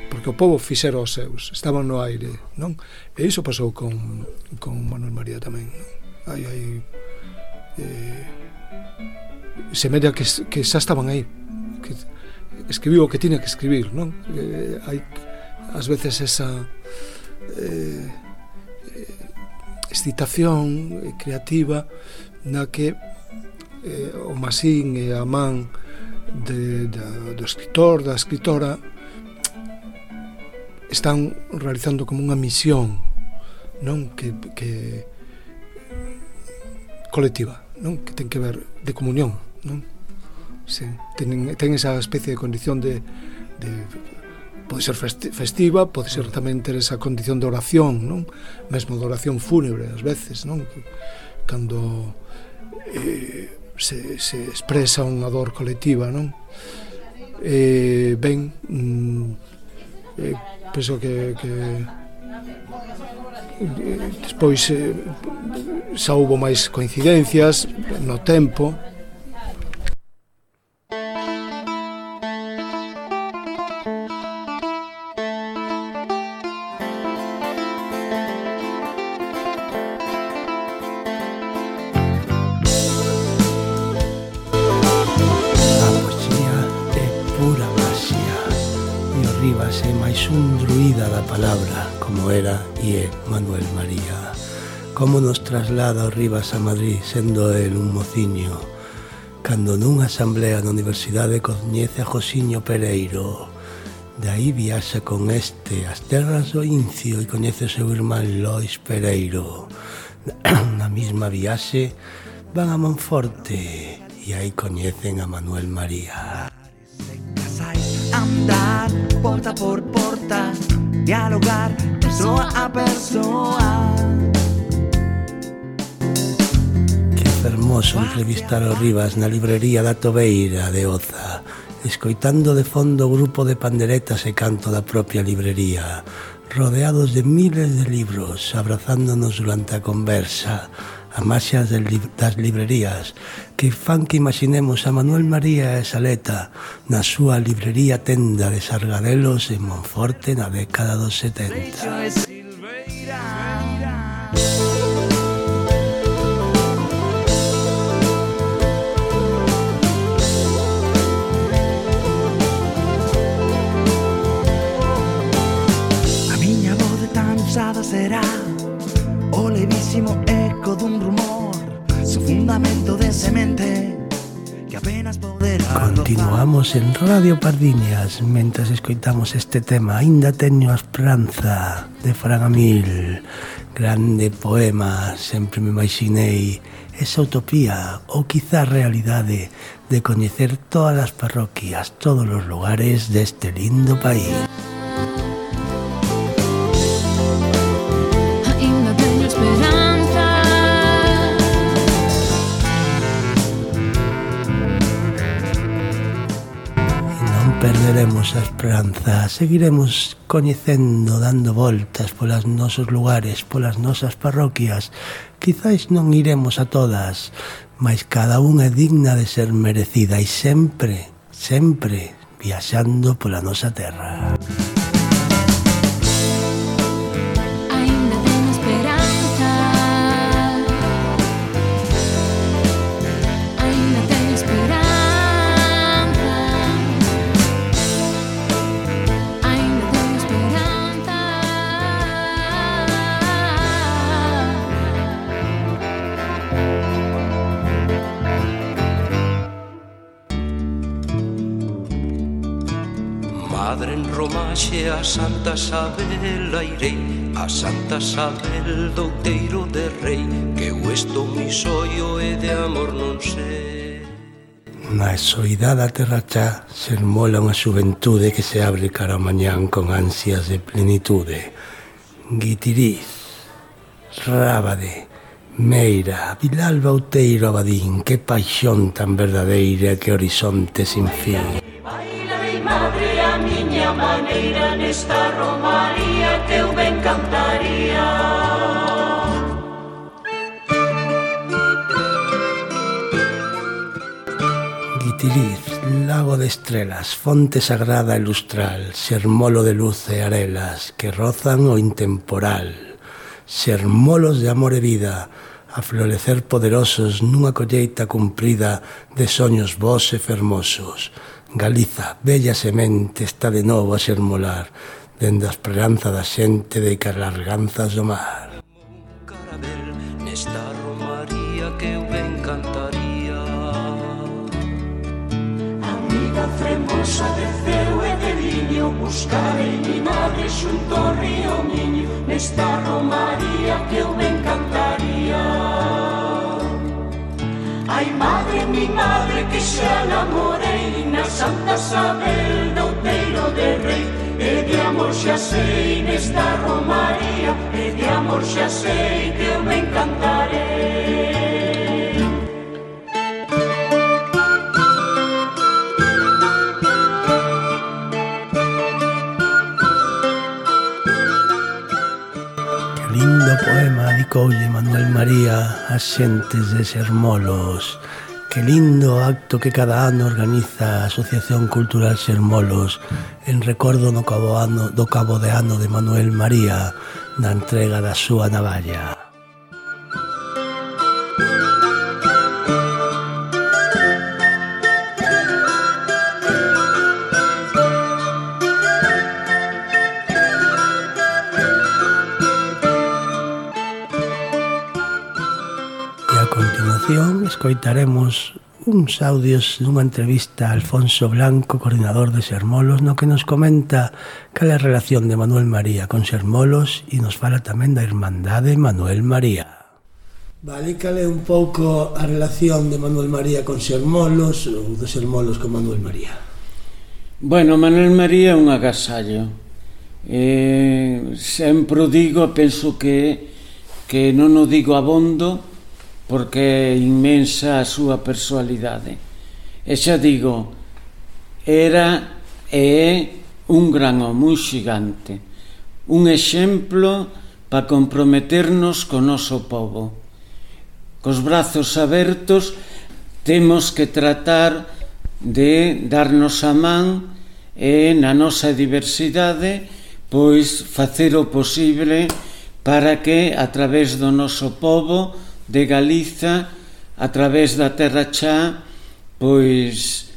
porque o povo fixera os seus, estaban no aire, non? E iso pasou con, con Manuel María tamén, non? Hai, hai eh, semella que, que xa estaban aí, que escribiu o que tiña que escribir, non? Eh, hai ás veces esa eh, excitación creativa na que eh, o masín e a man de, de, do escritor, da escritora están realizando como unha misión, non? Que, que colectiva, non? Que ten que ver de comunión, non? Sí, ten, ten esa especie de condición de, de pode ser festiva, pode ser tamén ter esa condición de oración, non? Mesmo de oración fúnebre ás veces, non? Cando eh, se, se expresa unha dor colectiva, non? Eh, ben, mm, eh, penso que, que despois eh, xa houbo máis coincidencias no tempo. Un druida da palabra, como era e é Manuel María. Como nos traslada o Rivas a Madrid, sendo el un mociño, cando nunha asamblea na Universidade coñece a Josiño Pereiro. De aí viaxa con este as terras do Incio e coñece o seu irmán Lois Pereiro. Na mesma viaxe van a Monforte e aí coñecen a Manuel María. Andar porta por porta, dialogar persoa a persoa. Que fermoso entrevistar o Rivas na librería da Tobeira de Oza, escoitando de fondo o grupo de panderetas e canto da propia librería, rodeados de miles de libros, abrazándonos durante a conversa, a maxas das librerías que fan que imaginemos a Manuel María e Saleta na súa librería tenda de Sargadelos en Monforte na década dos setenta. A miña voz de tan usada será fundamento de semente que apenas poderá. Continuamos en Radio Pardiñas mentres escoitamos este tema. Ainda teño a esperanza, de Fran Amil. Grande poema, sempre me imaginei esa utopía ou quizá realidade de coñecer todas as parroquias, todos os lugares deste lindo país. Perderemos a esperanza, seguiremos coñecendo, dando voltas polas nosos lugares, polas nosas parroquias. Quizais non iremos a todas, mas cada unha é digna de ser merecida e sempre, sempre viaxando pola nosa terra. Madre en Romaxe a Santa Sabel airei, a Santa Sabel do Outeiro de Rei, que o estou mi soio e de amor non sei. Na soidade a terra xa sermola unha xuventude que se abre cara ao mañán con ansias de plenitude. Guitiriz, Rábade, Meira, Vilalba, Outeiro, Abadín, que paixón tan verdadeira, que horizonte sin fin. Madre, a miña maneira nesta romaría que eu ben cantaría. Guitiriz, lago de estrelas, fonte sagrada e lustral, sermolo de luz e arelas que rozan o intemporal, sermolos de amor e vida, a florecer poderosos nunha colleita cumprida de soños vos e fermosos. Galiza, bella semente, está de novo a sermolar dende a esperanza da xente de carlarganzas do mar. Carabel nesta romaría que eu ben cantaría. Amiga fremosa de ceo e de viño, buscarei mi madre xunto ao río Miño, nesta romaría que eu ben cantaría. Ai, madre, mi madre, que xa namorei na Santa Sabel do Outeiro de Rei, e de amor xa sei nesta romaría, e de amor xa sei que eu me encantarei. Que lindo poema dedicoulle Manuel María ás xentes de Sermolos. Que lindo acto que cada ano organiza a Asociación Cultural Sermolos en recordo no cabo, ano, do cabo de ano de Manuel María na entrega da súa navalla. Escoitaremos uns audios dunha entrevista a Alfonso Blanco, coordinador de Sermolos, no que nos comenta cal é a relación de Manuel María con Sermolos e nos fala tamén da Irmandade Manuel María. Vale, cal é un pouco a relación de Manuel María con Sermolos ou de Sermolos con Manuel María? Bueno, Manuel María é un agasallo. Eh, sempre o digo, penso que, que non o digo abondo, porque é inmensa a súa personalidade. E xa digo, era e é un gran home, un xigante, un exemplo para comprometernos co noso povo. Cos brazos abertos temos que tratar de darnos a man e na nosa diversidade pois facer o posible para que a través do noso povo de Galiza, a través da Terra Chá, pois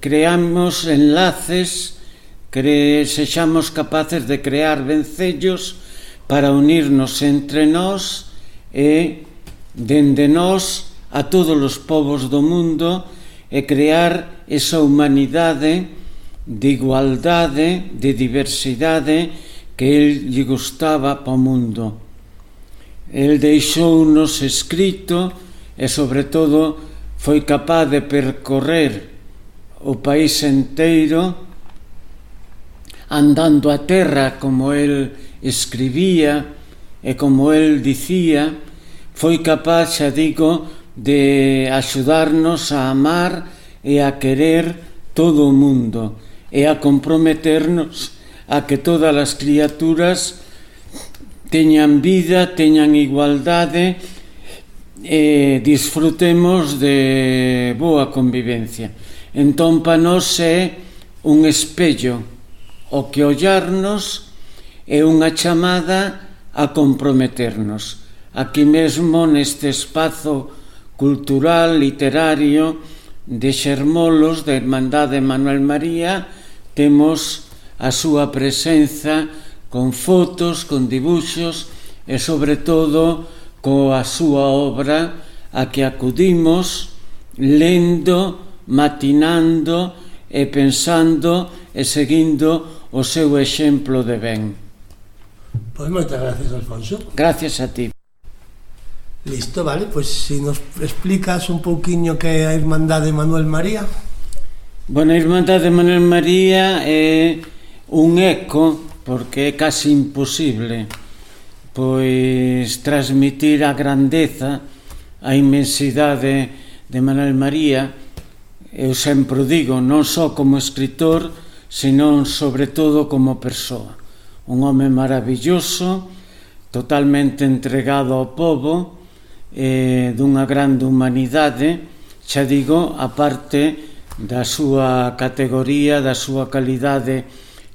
creamos enlaces, cre, sexamos capaces de crear vencellos para unirnos entre nós e dende nós a todos os povos do mundo e crear esa humanidade de igualdade, de diversidade que el lle gustaba para o mundo. El deixou-nos escrito e, sobre todo, foi capaz de percorrer o país inteiro andando a terra como el escribía e como el dicía. Foi capaz, xa digo, de axudarnos a amar e a querer todo o mundo e a comprometernos a que todas as criaturas teñan vida, teñan igualdade e disfrutemos de boa convivencia. Entón, para nós é un espello o que ollarnos é unha chamada a comprometernos. Aquí mesmo, neste espazo cultural, literario de Xermolos, da Irmandade Manuel María, temos a súa presenza con fotos, con dibuxos e, sobre todo, coa súa obra a que acudimos lendo, matinando e pensando e seguindo o seu exemplo de ben. Pois moitas gracias, Alfonso. Gracias a ti. Listo, vale, pois si nos explicas un pouquiño que é a Irmandade Manuel María. Bueno, a Irmandade Manuel María é un eco, porque é casi imposible pois transmitir a grandeza, a inmensidade de Manuel María. Eu sempre digo, non só como escritor, senón sobre todo como persoa. Un home maravilloso, totalmente entregado ao povo, eh, dunha grande humanidade, xa digo, a parte da súa categoría, da súa calidade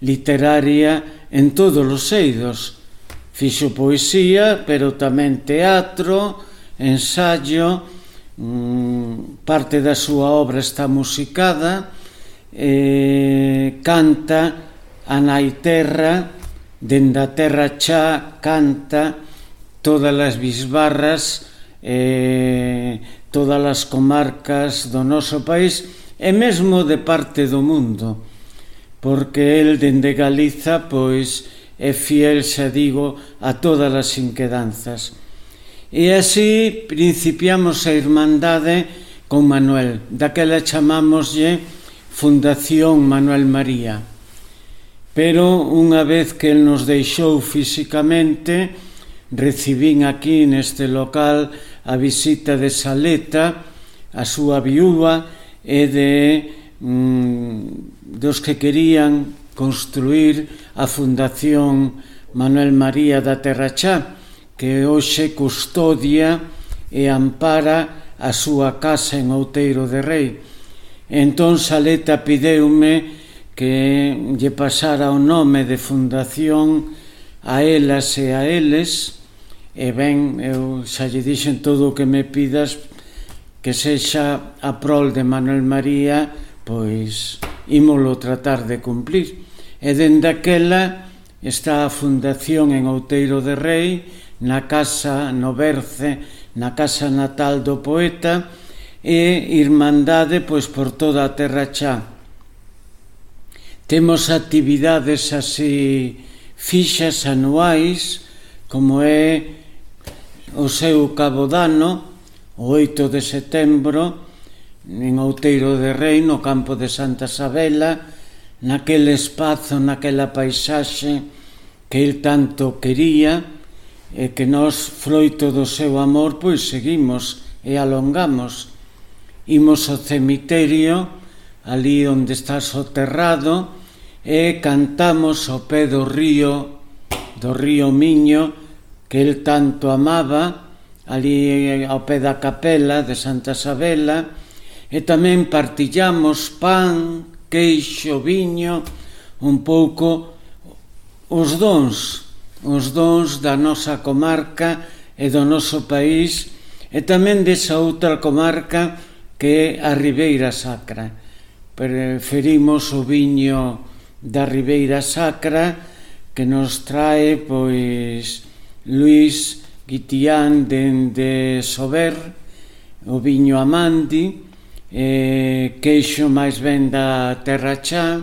literaria en todos os eidos. Fixo poesía, pero tamén teatro, ensayo, mmm, parte da súa obra está musicada, eh, canta a nai terra, dende a terra xa canta todas as bisbarras, eh, todas as comarcas do noso país e mesmo de parte do mundo, porque el dende Galiza pois é fiel, xa digo, a todas as inquedanzas. E así principiamos a Irmandade con Manuel. Daquela chamámoslle Fundación Manuel María. Pero unha vez que el nos deixou físicamente, recibín aquí neste local a visita de Saleta, a súa viúva e de mm, dos que querían construir a Fundación Manuel María da Terra Xa, que hoxe custodia e ampara a súa casa en Outeiro de Rei. Entón Saleta pideume que lle pasara o nome de Fundación a elas e a eles, e ben, eu xa lle dixen todo o que me pidas que sexa a prol de Manuel María, pois ímolo tratar de cumplir. E dende aquela está a Fundación en Outeiro de Rei, na casa, no Berce, na casa natal do poeta, e Irmandade pois por toda a Terra Xa. Temos actividades así fixas anuais, como é o seu cabodano, o oito de setembro, en Outeiro de Rei, no campo de Santa Sabela, naquele espazo, naquela paisaxe que el tanto quería e que nós, froito do seu amor, pois seguimos e alongamos. Imos ao cemiterio, ali onde está soterrado, e cantamos ao pé do río, do río Miño, que el tanto amaba, ali ao pé da capela de Santa Sabela, e tamén partillamos pan, queixo, viño, un pouco os dons, os dons da nosa comarca e do noso país, e tamén desa outra comarca que é a Ribeira Sacra. Preferimos o viño da Ribeira Sacra que nos trae pois Luís Guitián dende Sober, o viño Amandi, eh, queixo máis ben da Terra Chá,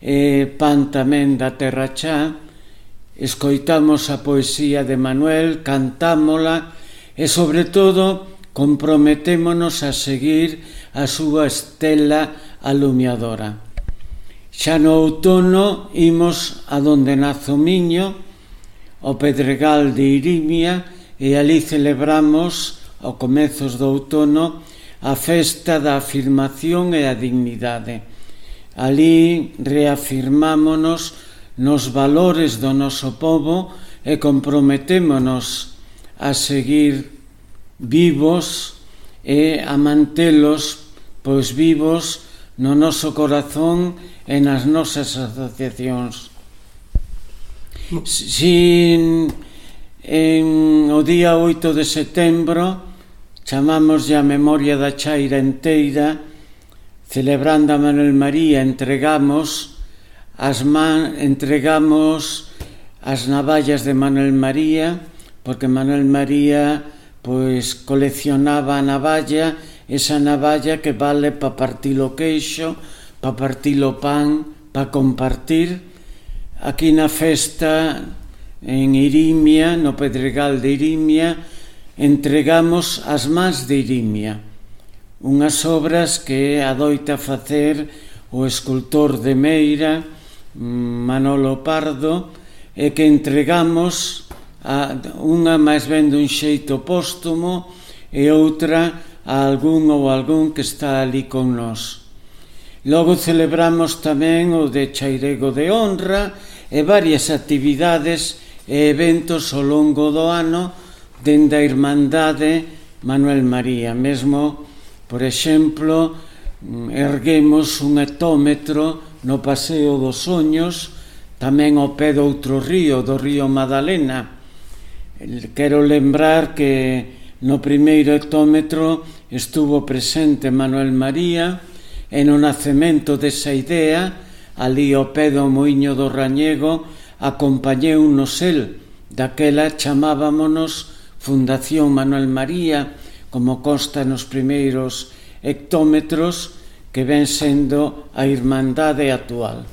eh, pan tamén da Terra Chá. Escoitamos a poesía de Manuel, cantámola e, sobre todo, comprometémonos a seguir a súa estela alumiadora. Xa no outono imos a donde nace o miño, ao Pedregal de Irimia, e ali celebramos, ao comezos do outono, a festa da afirmación e a dignidade. Ali reafirmámonos nos valores do noso povo e comprometémonos a seguir vivos e a mantelos pois vivos no noso corazón e nas nosas asociacións. Sin en o día oito de setembro chamamos a memoria da chaira enteira, celebrando a Manuel María, entregamos as man, entregamos as navallas de Manuel María, porque Manuel María pois coleccionaba a navalla, esa navalla que vale para partir o queixo, para partir o pan, para compartir. Aquí na festa en Irimia, no Pedregal de Irimia, entregamos as mans de Irimia, unhas obras que adoita facer o escultor de Meira, Manolo Pardo, e que entregamos a unha máis ben dun xeito póstumo e outra a algún ou algún que está ali con nós. Logo celebramos tamén o de Chairego de Honra e varias actividades e eventos ao longo do ano dende a Irmandade Manuel María. Mesmo, por exemplo, erguemos un hectómetro no Paseo dos Soños, tamén ao pé do outro río, do río Madalena. Quero lembrar que no primeiro hectómetro estuvo presente Manuel María e no nacemento desa idea, ali ao pé do Muiño do Rañego, acompañeunos el. Daquela chamábamonos Fundación Manuel María, como consta nos primeiros hectómetros, que ven sendo a Irmandade actual.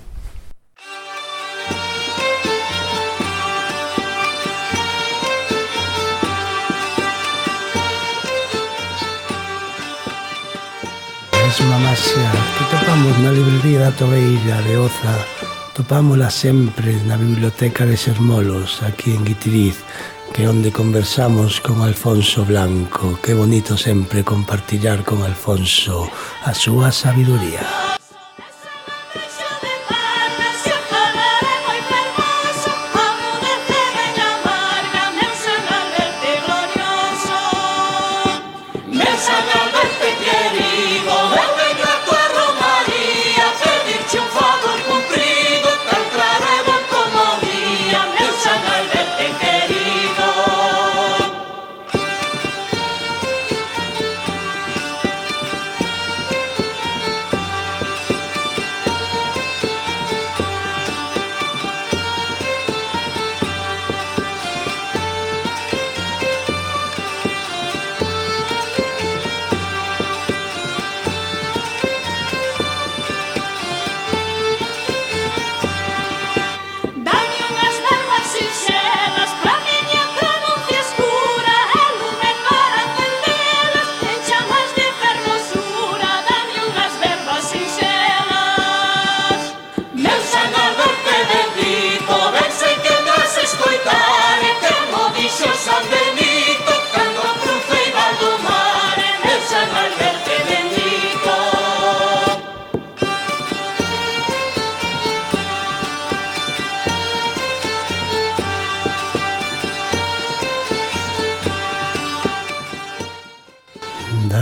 Mesma maxia que topamos na librería da Tobeira de Oza, topámola sempre na biblioteca de Sermolos, aquí en Guitiriz, que é onde conversamos con Alfonso Blanco. Que bonito sempre compartillar con Alfonso a súa sabiduría.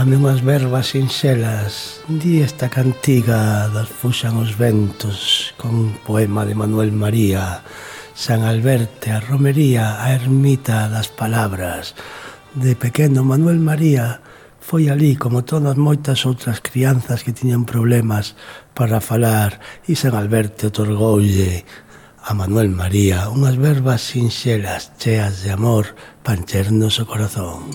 Dame unhas verbas sinxelas, di esta cantiga das fuxan os ventos, con un poema de Manuel María, San Alberte, a romería, a ermita das palabras. De pequeno Manuel María foi ali, como todas moitas outras crianzas que tiñan problemas para falar, e San Alberte otorgoulle a Manuel María unhas verbas sinxelas, cheas de amor, para enchernos o corazón.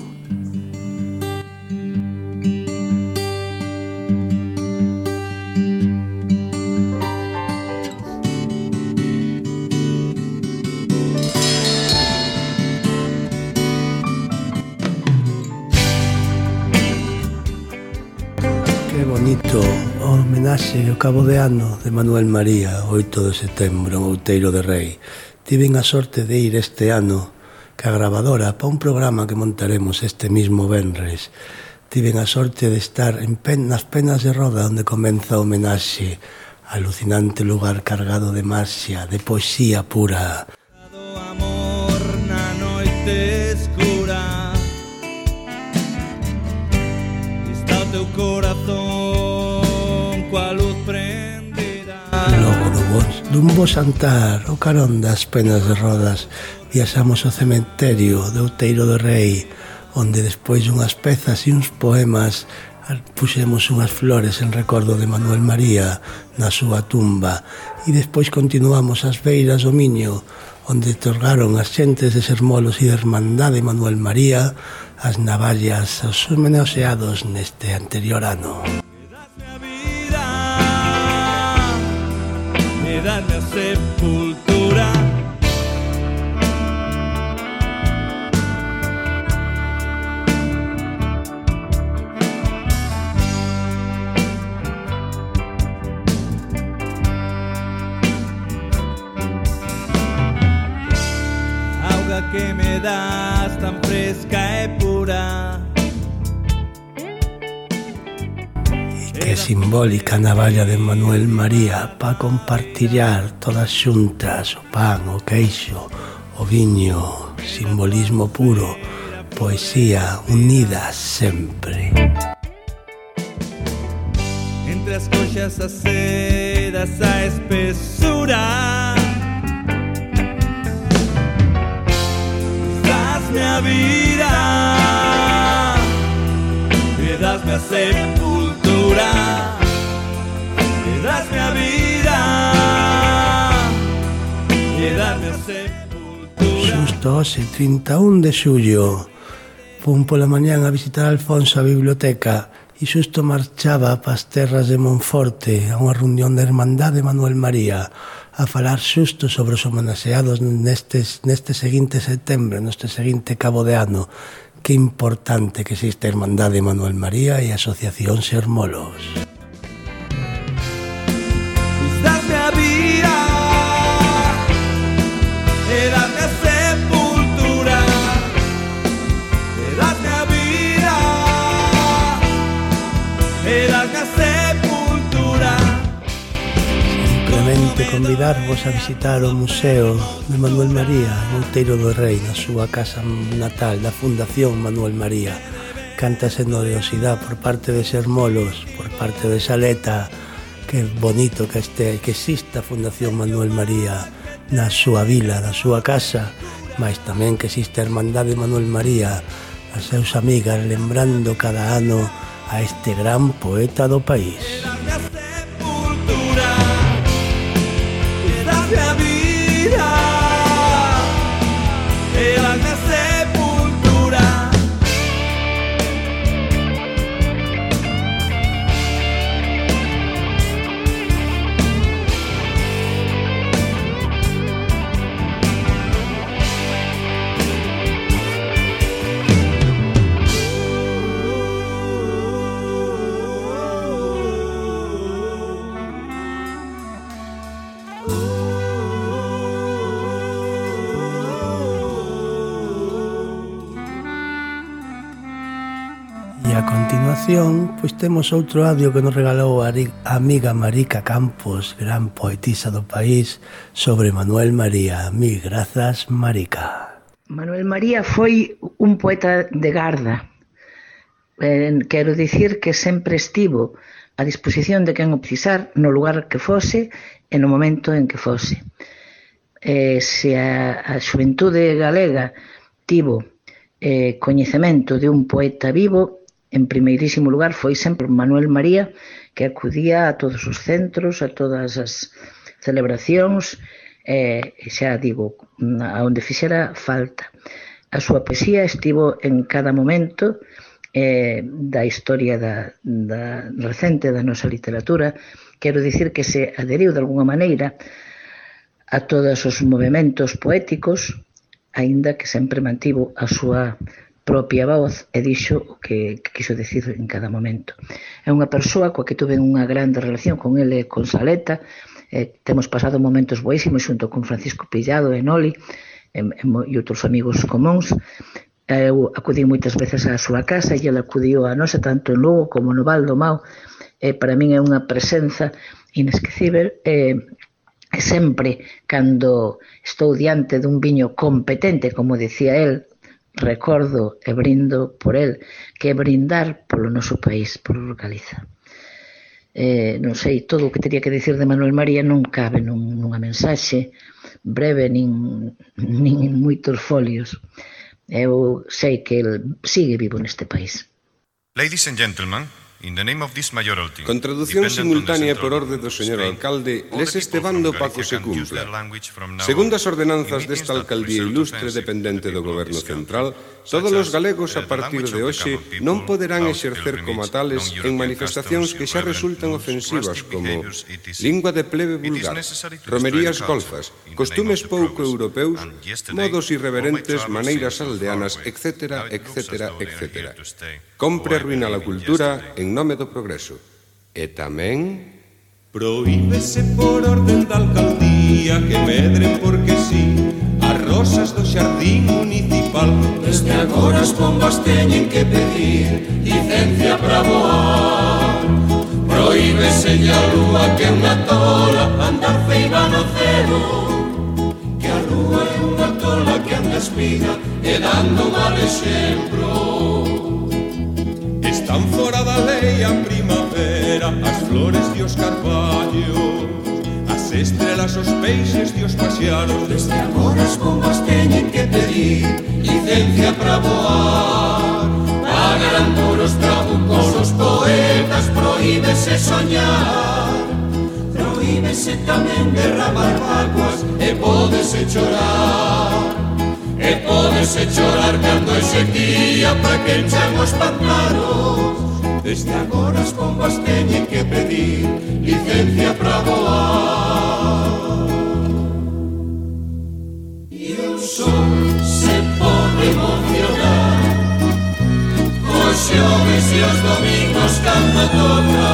Que bonito o homenaxe ao cabo de ano de Manuel María, oito de setembro, en Outeiro de Rei. Tiven a sorte de ir este ano ca gravadora para un programa que montaremos este mismo venres. Tiven a sorte de estar en pen, nas Penas de Roda, onde comeza o homenaxe, alucinante lugar cargado de marxa, de poesía pura. Amor na noite escura, está o teu corazón coa luz prendida. Logo do bo, dun bo xantar, o carón das Penas de Rodas, viaxamos ao cementerio de Outeiro de Rei, onde despois unhas pezas e uns poemas puxemos unhas flores en recordo de Manuel María na súa tumba, e despois continuamos as beiras do Miño, onde torgaron as xentes de Sermolos e de Hermandade Manuel María as navallas aos homenaxeados neste anterior ano. Me das a sepultura, que me das tan fresca e pura, Que simbólica navalla de Manuel María para compartillar todas xuntas o pan, o queixo, o viño, simbolismo puro, poesía unida sempre. Entre as coxas as sedas a espesura, dasme a vida, me dasme a sepultura, me dasme a vida, me dasme a sepultura. Xusto hoxe, trinta e un de xullo, fun pola mañán a visitar a Alfonso a biblioteca e xusto marchaba para as terras de Monforte a unha reunión de Hermandade Manuel María a falar xusto sobre os homenaxeados nestes, neste seguinte setembro, neste seguinte cabo de ano. Que importante que existe a Hermandade Manuel María e a Asociación Sermolos. Dasme a vida, e dasme a sepultura, e dasme a vida, e dasme a sepultura. Simplemente convidarvos a visitar o Museo de Manuel María en Outeiro do Rei, na súa casa natal da Fundación Manuel María. Canta xenerosidade por parte de Sermolos, por parte de Saleta. Que bonito que este que exista a Fundación Manuel María na súa vila, na súa casa, mas tamén que existe a Hermandade Manuel María, as seus amigas, lembrando cada ano a este gran poeta do país. La vida, la sepultura. E a continuación, pois temos outro audio que nos regalou a amiga Marica Campos, gran poetisa do país, sobre Manuel María. Mil grazas, Marica. Manuel María foi un poeta de garda. Eh, quero dicir que sempre estivo a disposición de quen o precisar no lugar que fose e no momento en que fose. Eh, se a, a xuventude galega tivo eh, coñecemento de un poeta vivo, en primeirísimo lugar foi sempre Manuel María, que acudía a todos os centros, a todas as celebracións, e eh, xa digo, a onde fixera falta. A súa poesía estivo en cada momento eh, da historia da, da recente da nosa literatura. Quero dicir que se adheriu de alguna maneira a todos os movementos poéticos, aínda que sempre mantivo a súa propia voz e dixo o que, que quiso decir en cada momento. É unha persoa coa que tuve unha grande relación con ele e con Saleta, eh, temos pasado momentos boísimos xunto con Francisco Pillado e Noli e, e, e outros amigos comóns. Eu acudí moitas veces á súa casa e ele acudiu a nosa tanto en Lugo como no Val do Mao. E para min é unha presenza inesquecível e, e sempre cando estou diante dun viño competente, como dicía el, recordo e brindo por el, que é brindar polo noso país, polo Galiza. Eh, non sei, todo o que teria que dicir de Manuel María non cabe nun, nunha mensaxe breve nin, nin en moitos folios. Eu sei que el sigue vivo neste país. Ladies and gentlemen, in the name of this mayoralty, con traducción simultánea por orde do señor alcalde, les este bando Paco se cumpla. Segundo as ordenanzas desta alcaldía ilustre dependente do goberno central, todos os galegos a partir de hoxe non poderán exercer como tales en manifestacións que xa resultan ofensivas como lingua de plebe vulgar, romerías golfas, costumes pouco europeus, modos irreverentes, maneiras aldeanas, etcétera, etcétera, etcétera. Compre arruinar a cultura en nome do progreso. E tamén prohíbese por orden da alcaldía que medren porque sí as rosas do xardín municipal. Desde agora as pombas teñen que pedir licencia para voar. Prohíbese a lúa que é unha tola andar feiva no cero, que a lúa é unha tola que anda espiga e dando mal exemplo. Están fora da lei a primavera, as flores e os carballos, as estrelas, os peixes e os paxaros. Desde agora as pombas teñen que pedir licencia para voar. Pagarán por os trabucos os poetas, prohíbese soñar. Prohíbese tamén derramar aguas e pódese chorar. E pódese chorar cando hai sequía para que enchan os pantanos. Desde agora as pombas teñen que pedir licencia para voar. E o sol se pode emocionar os xoves e os domingos cando toca,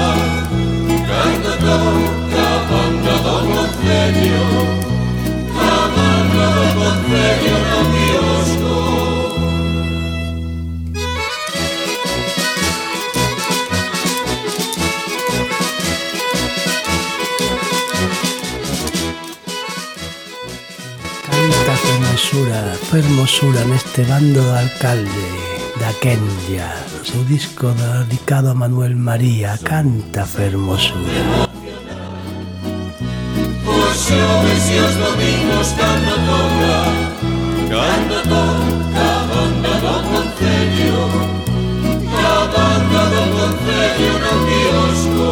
cando toca a banda do concello, a banda do concello no quiosco. Canta fermosura, fermosura neste bando do alcalde da Kenya, no seu disco dedicado a Manuel María. Canta fermosura. Os xoves e os domingos cando toca, cando toca a banda do concello, a banda do concello no quiosco.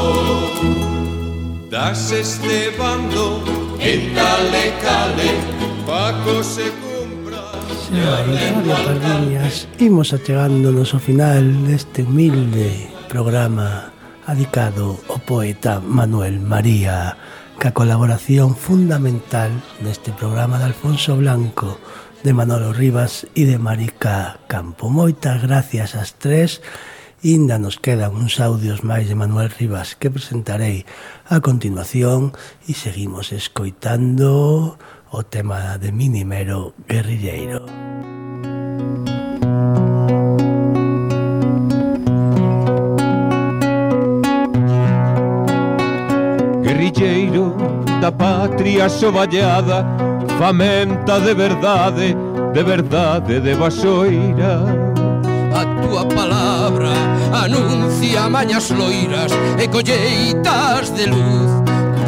Das este bando en tal e cale, Paco se cumpra. Xa, Radio Pardiñas, imos achegándonos ao final deste humilde programa dedicado ao poeta Manuel María, ca colaboración fundamental neste programa de Alfonso Blanco, de Manolo Rivas e de Marica Campo. Moitas gracias ás tres. Inda nos quedan uns audios máis de Manuel Rivas que presentarei a continuación e seguimos escoitando o tema de Minimero Guerrilleiro. Guerrilleiro da patria soballada, famenta de verdade, de verdade de vasoira. A túa palabra anuncia mañas loiras e colleitas de luz,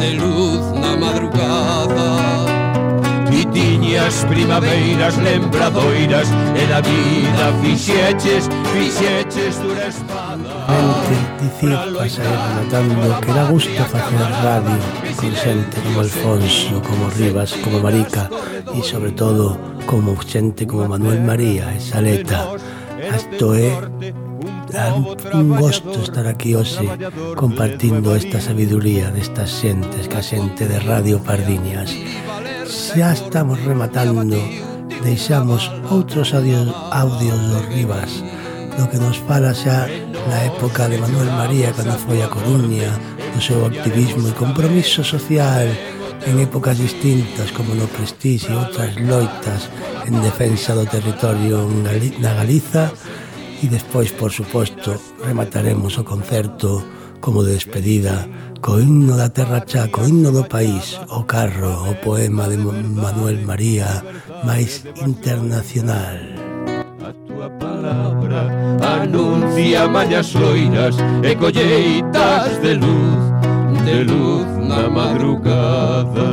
de luz na madrugada. E tiñas primaveiras lembradoiras e da vida fixeches, fixeches dura espada. Mente, dicir, pasar relatando que dá gusto facer radio con xente como Alfonso, como Rivas, como Marica e sobre todo como xente como Manuel María e Saleta. Isto é un gosto estar aquí hoxe compartindo esta sabiduría destas xentes, ca xente de Radio Pardiñas. Xa estamos rematando deixamos outros audios, audios dos Rivas, do que nos fala xa na época de Manuel María, cando foi a Coruña, do seu activismo e compromiso social en épocas distintas, como no Prestige e outras loitas en defensa do territorio na Galiza. E despois, por suposto, remataremos o concerto como de despedida co himno da terra cha, co himno do país, o carro, o poema de Manuel María máis internacional. A túa palabra anuncia mañas loiras e colleitas de luz, de luz na madrugada.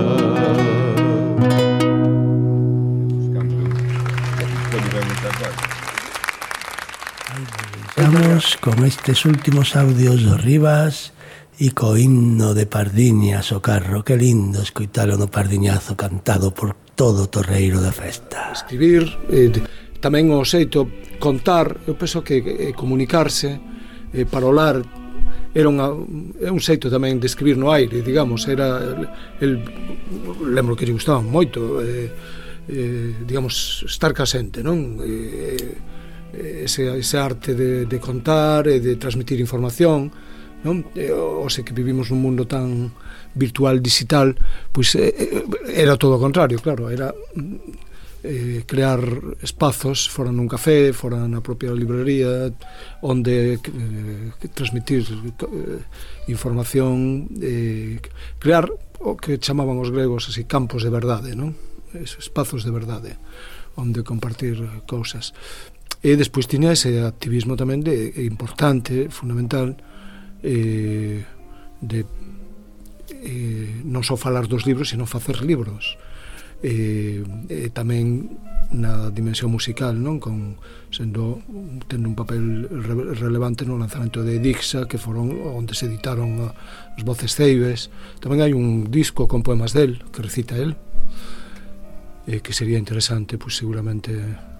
Vamos con estes últimos audios do Rivas e co himno de Pardiñas, o carro. Que lindo escoitalo no Pardiñazo cantado por todo o torreiro da festa. Escribir, eh, tamén o xeito contar, eu penso que eh, comunicarse, eh, parolar, era unha, é un xeito tamén de escribir no aire, digamos, era el, el lembro que lle gustaba moito, eh, eh, digamos, estar casente, non? Eh, ese, ese arte de, de contar e de transmitir información, non? O sei que vivimos nun mundo tan virtual, digital, pois eh, era todo o contrario, claro, era eh, crear espazos fora nun café, fora na propia librería, onde eh, transmitir eh, información, eh, crear o que chamaban os gregos así, campos de verdade, non? Espazos de verdade onde compartir cousas. E despois tiña ese activismo tamén de, importante, fundamental, eh, de eh, non só falar dos libros, sino facer libros. Eh, e tamén na dimensión musical, non? Con, sendo, tendo un papel re, relevante no lanzamento de Dixa, que foron onde se editaron as Voces Ceibes. Tamén hai un disco con poemas del, que recita el, eh, que sería interesante, pois seguramente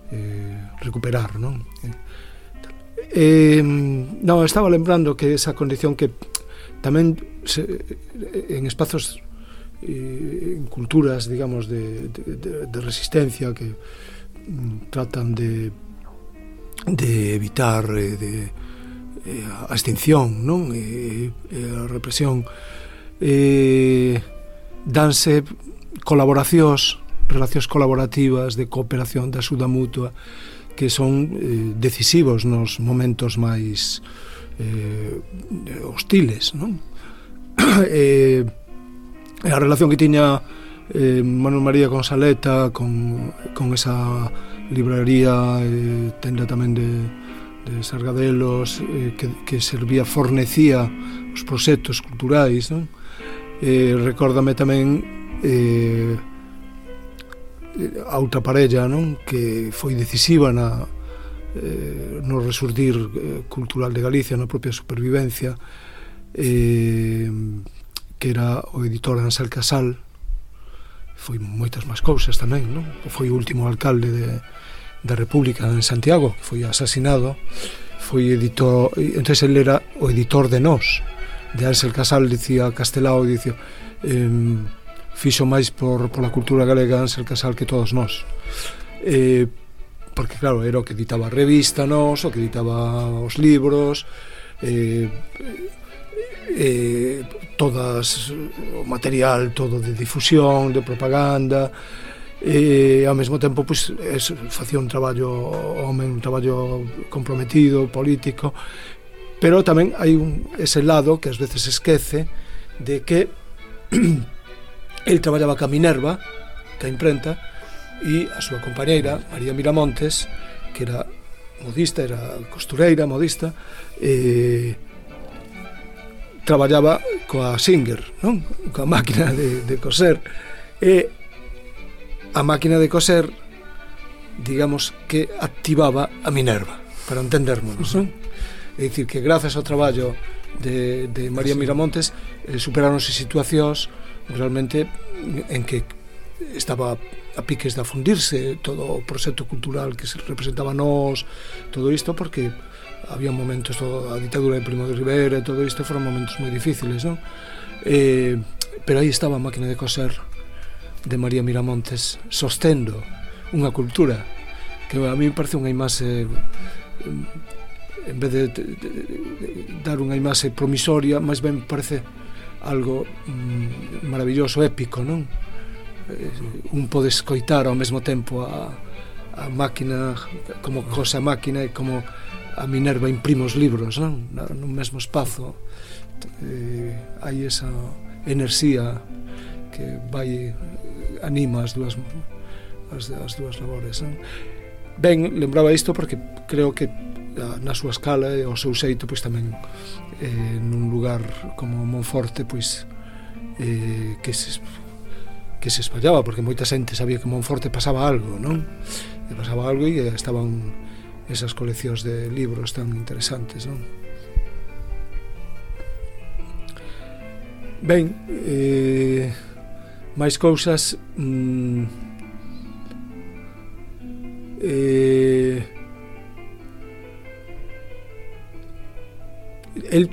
Eh, recuperar, non? Eh, non, estaba lembrando que esa condición que tamén se, en espazos eh, en culturas, digamos, de, de, de resistencia que mm, tratan de de evitar eh, de, eh, a extinción, non? E, e a represión, eh, danse colaboracións, relacións colaborativas de cooperación, de axuda mutua, que son eh, decisivos nos momentos máis eh, hostiles, non? eh, a relación que tiña eh, Manuel María con Saleta, con, con esa libraría, eh, tenda tamén de, de Sargadelos, eh, que, que servía, fornecía os proxectos culturais, non? Eh, recórdame tamén eh, a outra parella, non? Que foi decisiva na, eh, no resurdir eh, cultural de Galicia, na propia supervivencia, eh, que era o editor Ansel Casal. Foi moitas máis cousas tamén, non? Foi o último alcalde de, da República en Santiago, que foi asesinado. Foi editor, entonces ele era o editor de Nós, de Ansel Casal, dicía Castelao, dicía eh, fixo máis por, por a cultura galega Ansel Casal que todos nós, eh, porque claro, era o que editaba a revista Nós, o que editaba os libros, eh, eh, todas o material todo de difusión, de propaganda, e ao mesmo tempo pois, es, facía un traballo home, un traballo comprometido, político, pero tamén hai un, ese lado que ás veces esquece de que el traballaba ca Minerva, ca imprenta, e a súa compañeira, María Miramontes, que era modista, era costureira, modista, eh, traballaba coa Singer, non? Coa máquina de, de coser, e a máquina de coser, digamos, que activaba a Minerva, para entendermonos, non? É dicir, que grazas ao traballo de, de María Miramontes eh, superáronse situacións realmente en que estaba a piques de afundirse todo o proxecto cultural que se representaba Nós, todo isto, porque había momentos, todo, a ditadura de Primo de Rivera e todo isto foron momentos moi difíciles, non? Eh, pero aí estaba a máquina de coser de María Miramontes sostendo unha cultura, que a mí me parece unha imaxe, en vez de, de, de, de dar unha imaxe promisoria, máis ben parece algo mm, maravilloso, épico, non? Eh, un pode escoitar ao mesmo tempo a, a máquina, como cosa máquina, e como a Minerva imprime os libros, non? No mesmo espazo. Eh, hai esa enerxía que vai, anima as dúas, as, as dúas labores, non? Ben, lembraba isto porque creo que na súa escala e o seu xeito, pois tamén eh, nun lugar como Monforte, pois eh, que se que se espallaba, porque moita xente sabía que Monforte pasaba algo, non? E pasaba algo e estaban esas coleccións de libros tan interesantes, non? Ben, eh, máis cousas. mm, eh, el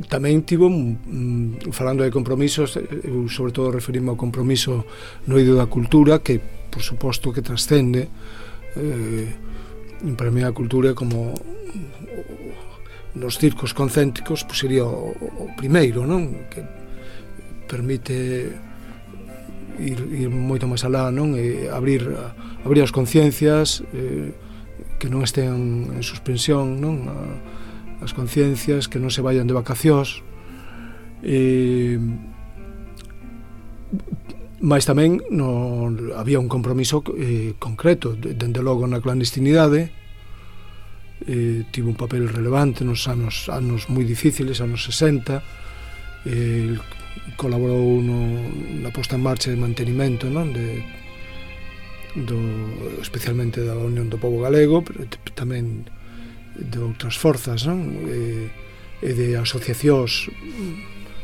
tamén tivo, mm, falando de compromisos, eu sobre todo referime ao compromiso no eido da cultura, que por suposto que trascende, eh, para mí a cultura como nos circos concéntricos, pois sería o, o primeiro, non? Que permite ir, ir moito máis alá, non? E abrir, abrir as conciencias, eh, que non estean en suspensión, non? A, as conciencias, que non se vayan de vacacións, e mais tamén no, había un compromiso eh, concreto, dende logo na clandestinidade. Eh, tivo un papel relevante nos anos, anos moi difíciles, anos sesenta, eh, colaborou no, na posta en marcha de mantenimento, non? De, do, especialmente da Unión do Pobo Galego, pero tamén de outras forzas, non? E, e de asociacións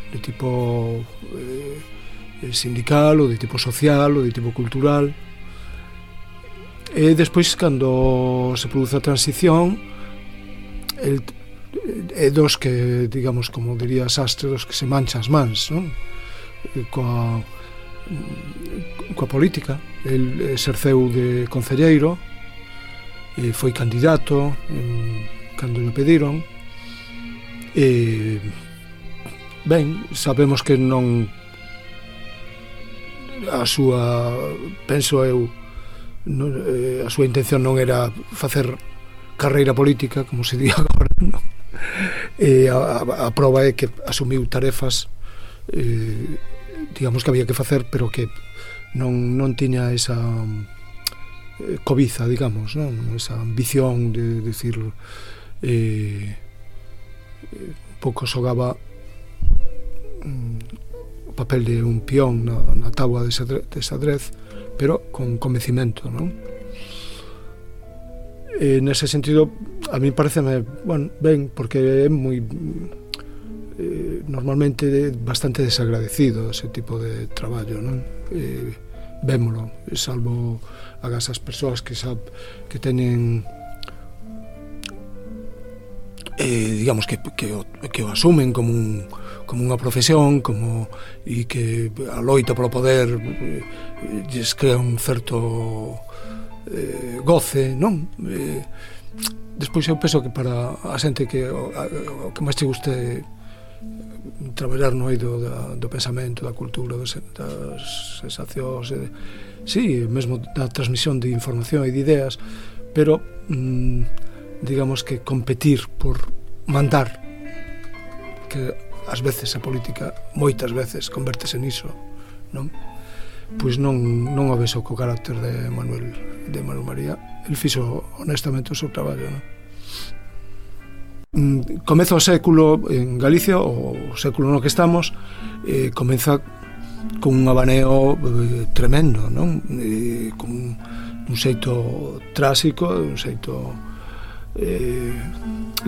de tipo eh, sindical, ou de tipo social, ou de tipo cultural. E despois, cando se produce a transición, el, é dos que, digamos, como diría Sastre, dos que se mancha as mans, non? Coa, coa política. El exerceu de concelleiro, e foi candidato en, cando lle pediron, e ben, sabemos que non, a súa, penso eu, non, eh, a súa intención non era facer carreira política, como se di agora, non? E a, a, a prova é que asumiu tarefas, eh, digamos, que había que facer, pero que non, non tiña esa cobiza, digamos, non? Esa ambición de decir, eh, pouco xogaba mm, o papel de un peón na, na táboa de xadrez, de xadrez, pero con convencimento, non? E nese sentido, a mí pareceme, bueno, ben, porque é moi eh, normalmente bastante desagradecido ese tipo de traballo, non? Eh, vémolo, salvo agás as persoas que sab, que teñen eh, digamos que, que, o, que o asumen como un, como unha profesión, como, e que a loita polo poder eh, lles crea un certo eh, goce, non? Eh, despois eu penso que para a xente que o, a, o que máis te guste traballar no eido da, do pensamento, da cultura, das, das sensacións, e, sí, mesmo da transmisión de información e de ideas, pero mm, digamos que competir por mandar, que ás veces a política moitas veces convértese niso, non? Pois non, non o vexo co carácter de Manuel, de Manuel María. El fixo honestamente o seu traballo, non? Comeza o século en Galicia, o século no que estamos, eh, comeza con un abaneo eh, tremendo, non? Eh, con un xeito tráxico, un xeito eh,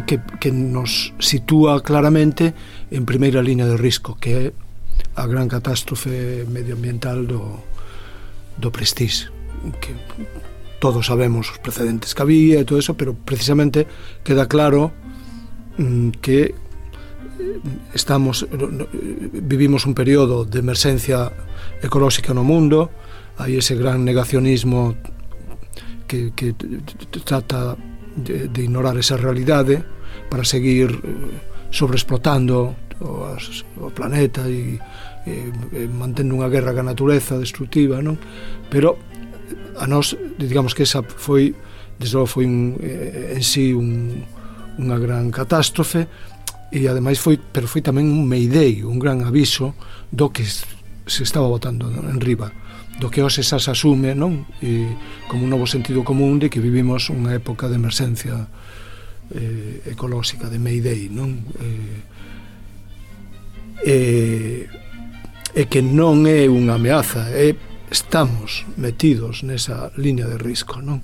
que, que nos sitúa claramente en primeira liña de risco, que é a gran catástrofe medioambiental do, do Prestige, que todos sabemos os precedentes que había e todo eso, pero precisamente queda claro que estamos vivimos un período de emerxencia ecolóxica no mundo, hai ese gran negacionismo que, que trata de, de ignorar esa realidade para seguir sobreexplotando o, o planeta e, e, e mantendo unha guerra ca natureza destructiva, non? Pero a nós, digamos que esa foi, desde logo foi un, en sí un, unha gran catástrofe, e ademais foi, pero foi tamén un mayday, un gran aviso do que se estaba botando en riba, do que hoxe xa se asume, non? E como un novo sentido común de que vivimos unha época de emerxencia eh, ecolóxica, de mayday, non? Eh, e, e que non é unha ameaza, é estamos metidos nesa liña de risco, non?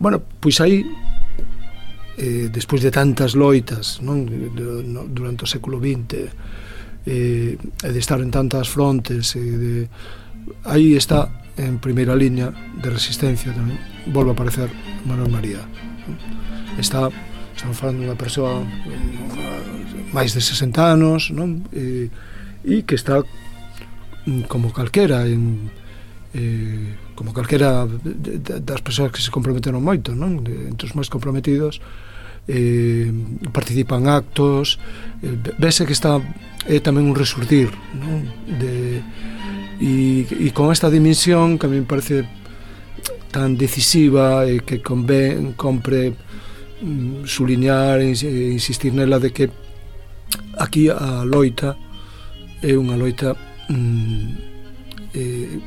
Bueno, pois aí eh, despois de tantas loitas, non? De, de, no, durante o século vinte, eh, e de estar en tantas frontes, e de, aí está en primeira liña de resistencia tamén, volve a aparecer Manuel María, non? Está, estamos falando dunha persoa máis de sesenta anos, non? E, e que está como calquera en, eh, como calquera de, de, das persoas que se comprometeron moito, non? De, entre os máis comprometidos, eh, participan actos, eh, vese que está é tamén un resurdir, non? De, e, e con esta dimensión que a mí me parece tan decisiva e que conven, compre mm, suliñar e insistir nela de que aquí a loita é unha loita mm, eh,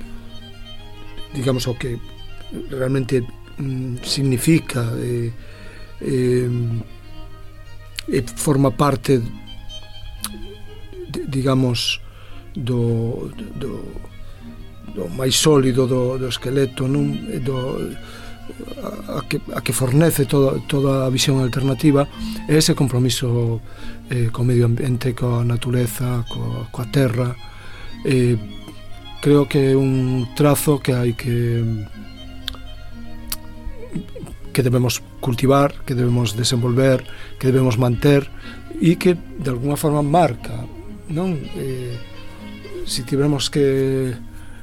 digamos o que realmente mm, significa e eh, eh, forma parte de, digamos do, do, do máis sólido do, do esqueleto, non? Do, a, a, que, a que fornece toda, toda a visión alternativa é ese compromiso eh, co medio ambiente, coa natureza, coa, coa terra. Eh, creo que é un trazo que hai que que debemos cultivar, que debemos desenvolver, que debemos manter e que de alguna forma marca, non? Eh, si tiveremos que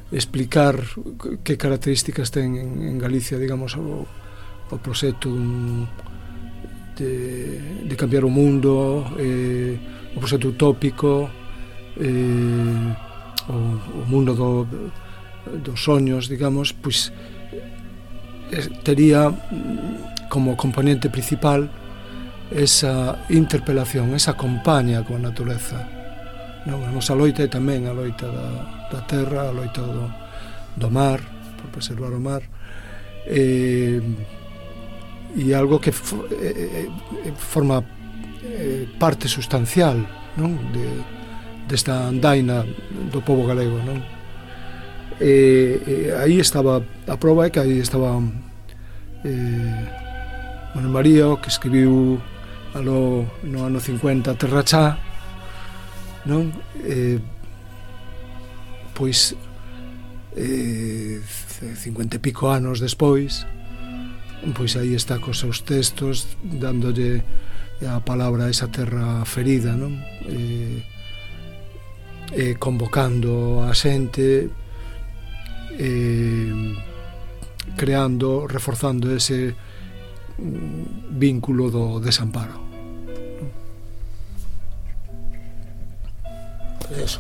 explicar que características ten en, en Galicia, digamos, o, o proxecto dun, de, de cambiar o mundo, eh, o proxecto utópico, eh, o, o mundo do, dos soños, digamos, pois eh, tería como componente principal esa interpelación, esa compañía coa natureza. Non, a nosa loita é tamén a loita da, da terra, a loita do, do mar, por preservar o mar, e, e algo que for, e, e, forma e, parte sustancial, non? De, desta andaina do pobo galego, non? E, e aí estaba a prova, é que aí estaba eh, Manuel María, que escribiu alo, no ano cincuenta Terra Chá, non? Eh, pois eh, cincuenta e pico anos despois, pois aí está cos seus textos dándolle a palabra a esa terra ferida, non? Eh, eh, convocando a xente, eh, creando, reforzando ese vínculo do desamparo. Eso.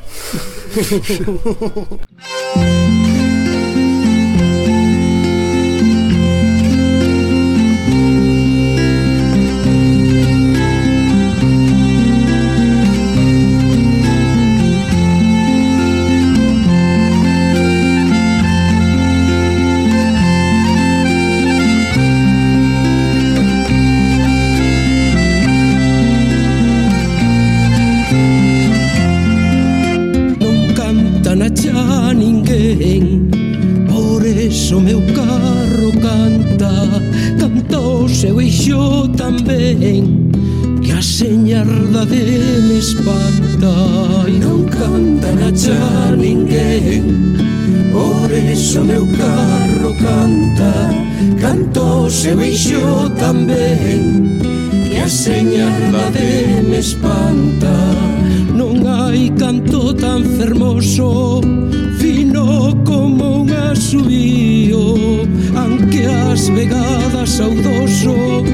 Se veixo tamén que a señalda de me espanta. Non hai canto tan fermoso, fino como unha subida Tantas vegadas saudoso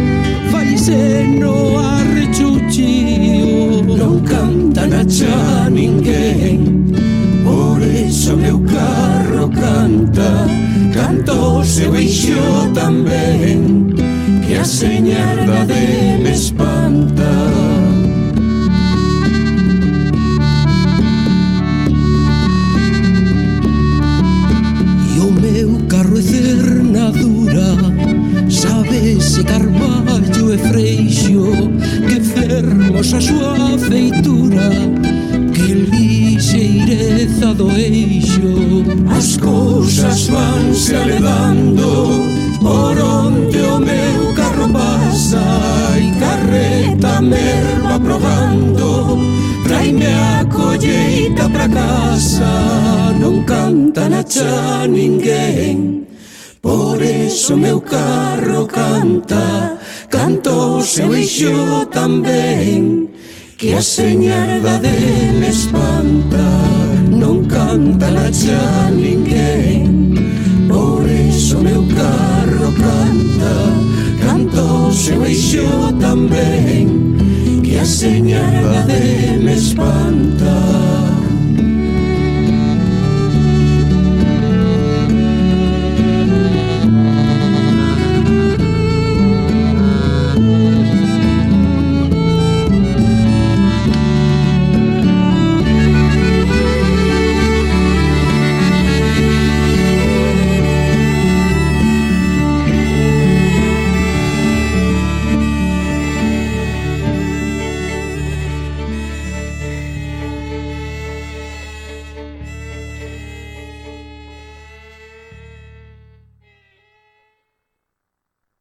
faise no arrechuchío. Non canta na cha ninguén, por eso meu carro canta. Canta o seu eixo tamén, que a señarda de me espanta. Carro e cernadura, sabese carballo e freixo, que fermosa a súa feitura, que lixeireza do eixo. As cousas vanse aledando por onde o meu carro pasa, e carreta merva probando, traime a colleita pra casa. Non canta na cha ninguén, por eso meu carro canta. Canta o seu eixo tamén, que a señarda dele espanta. Non canta na cha ninguén, por eso meu carro canta. Canta o seu eixo tamén, que a señarda dele espanta.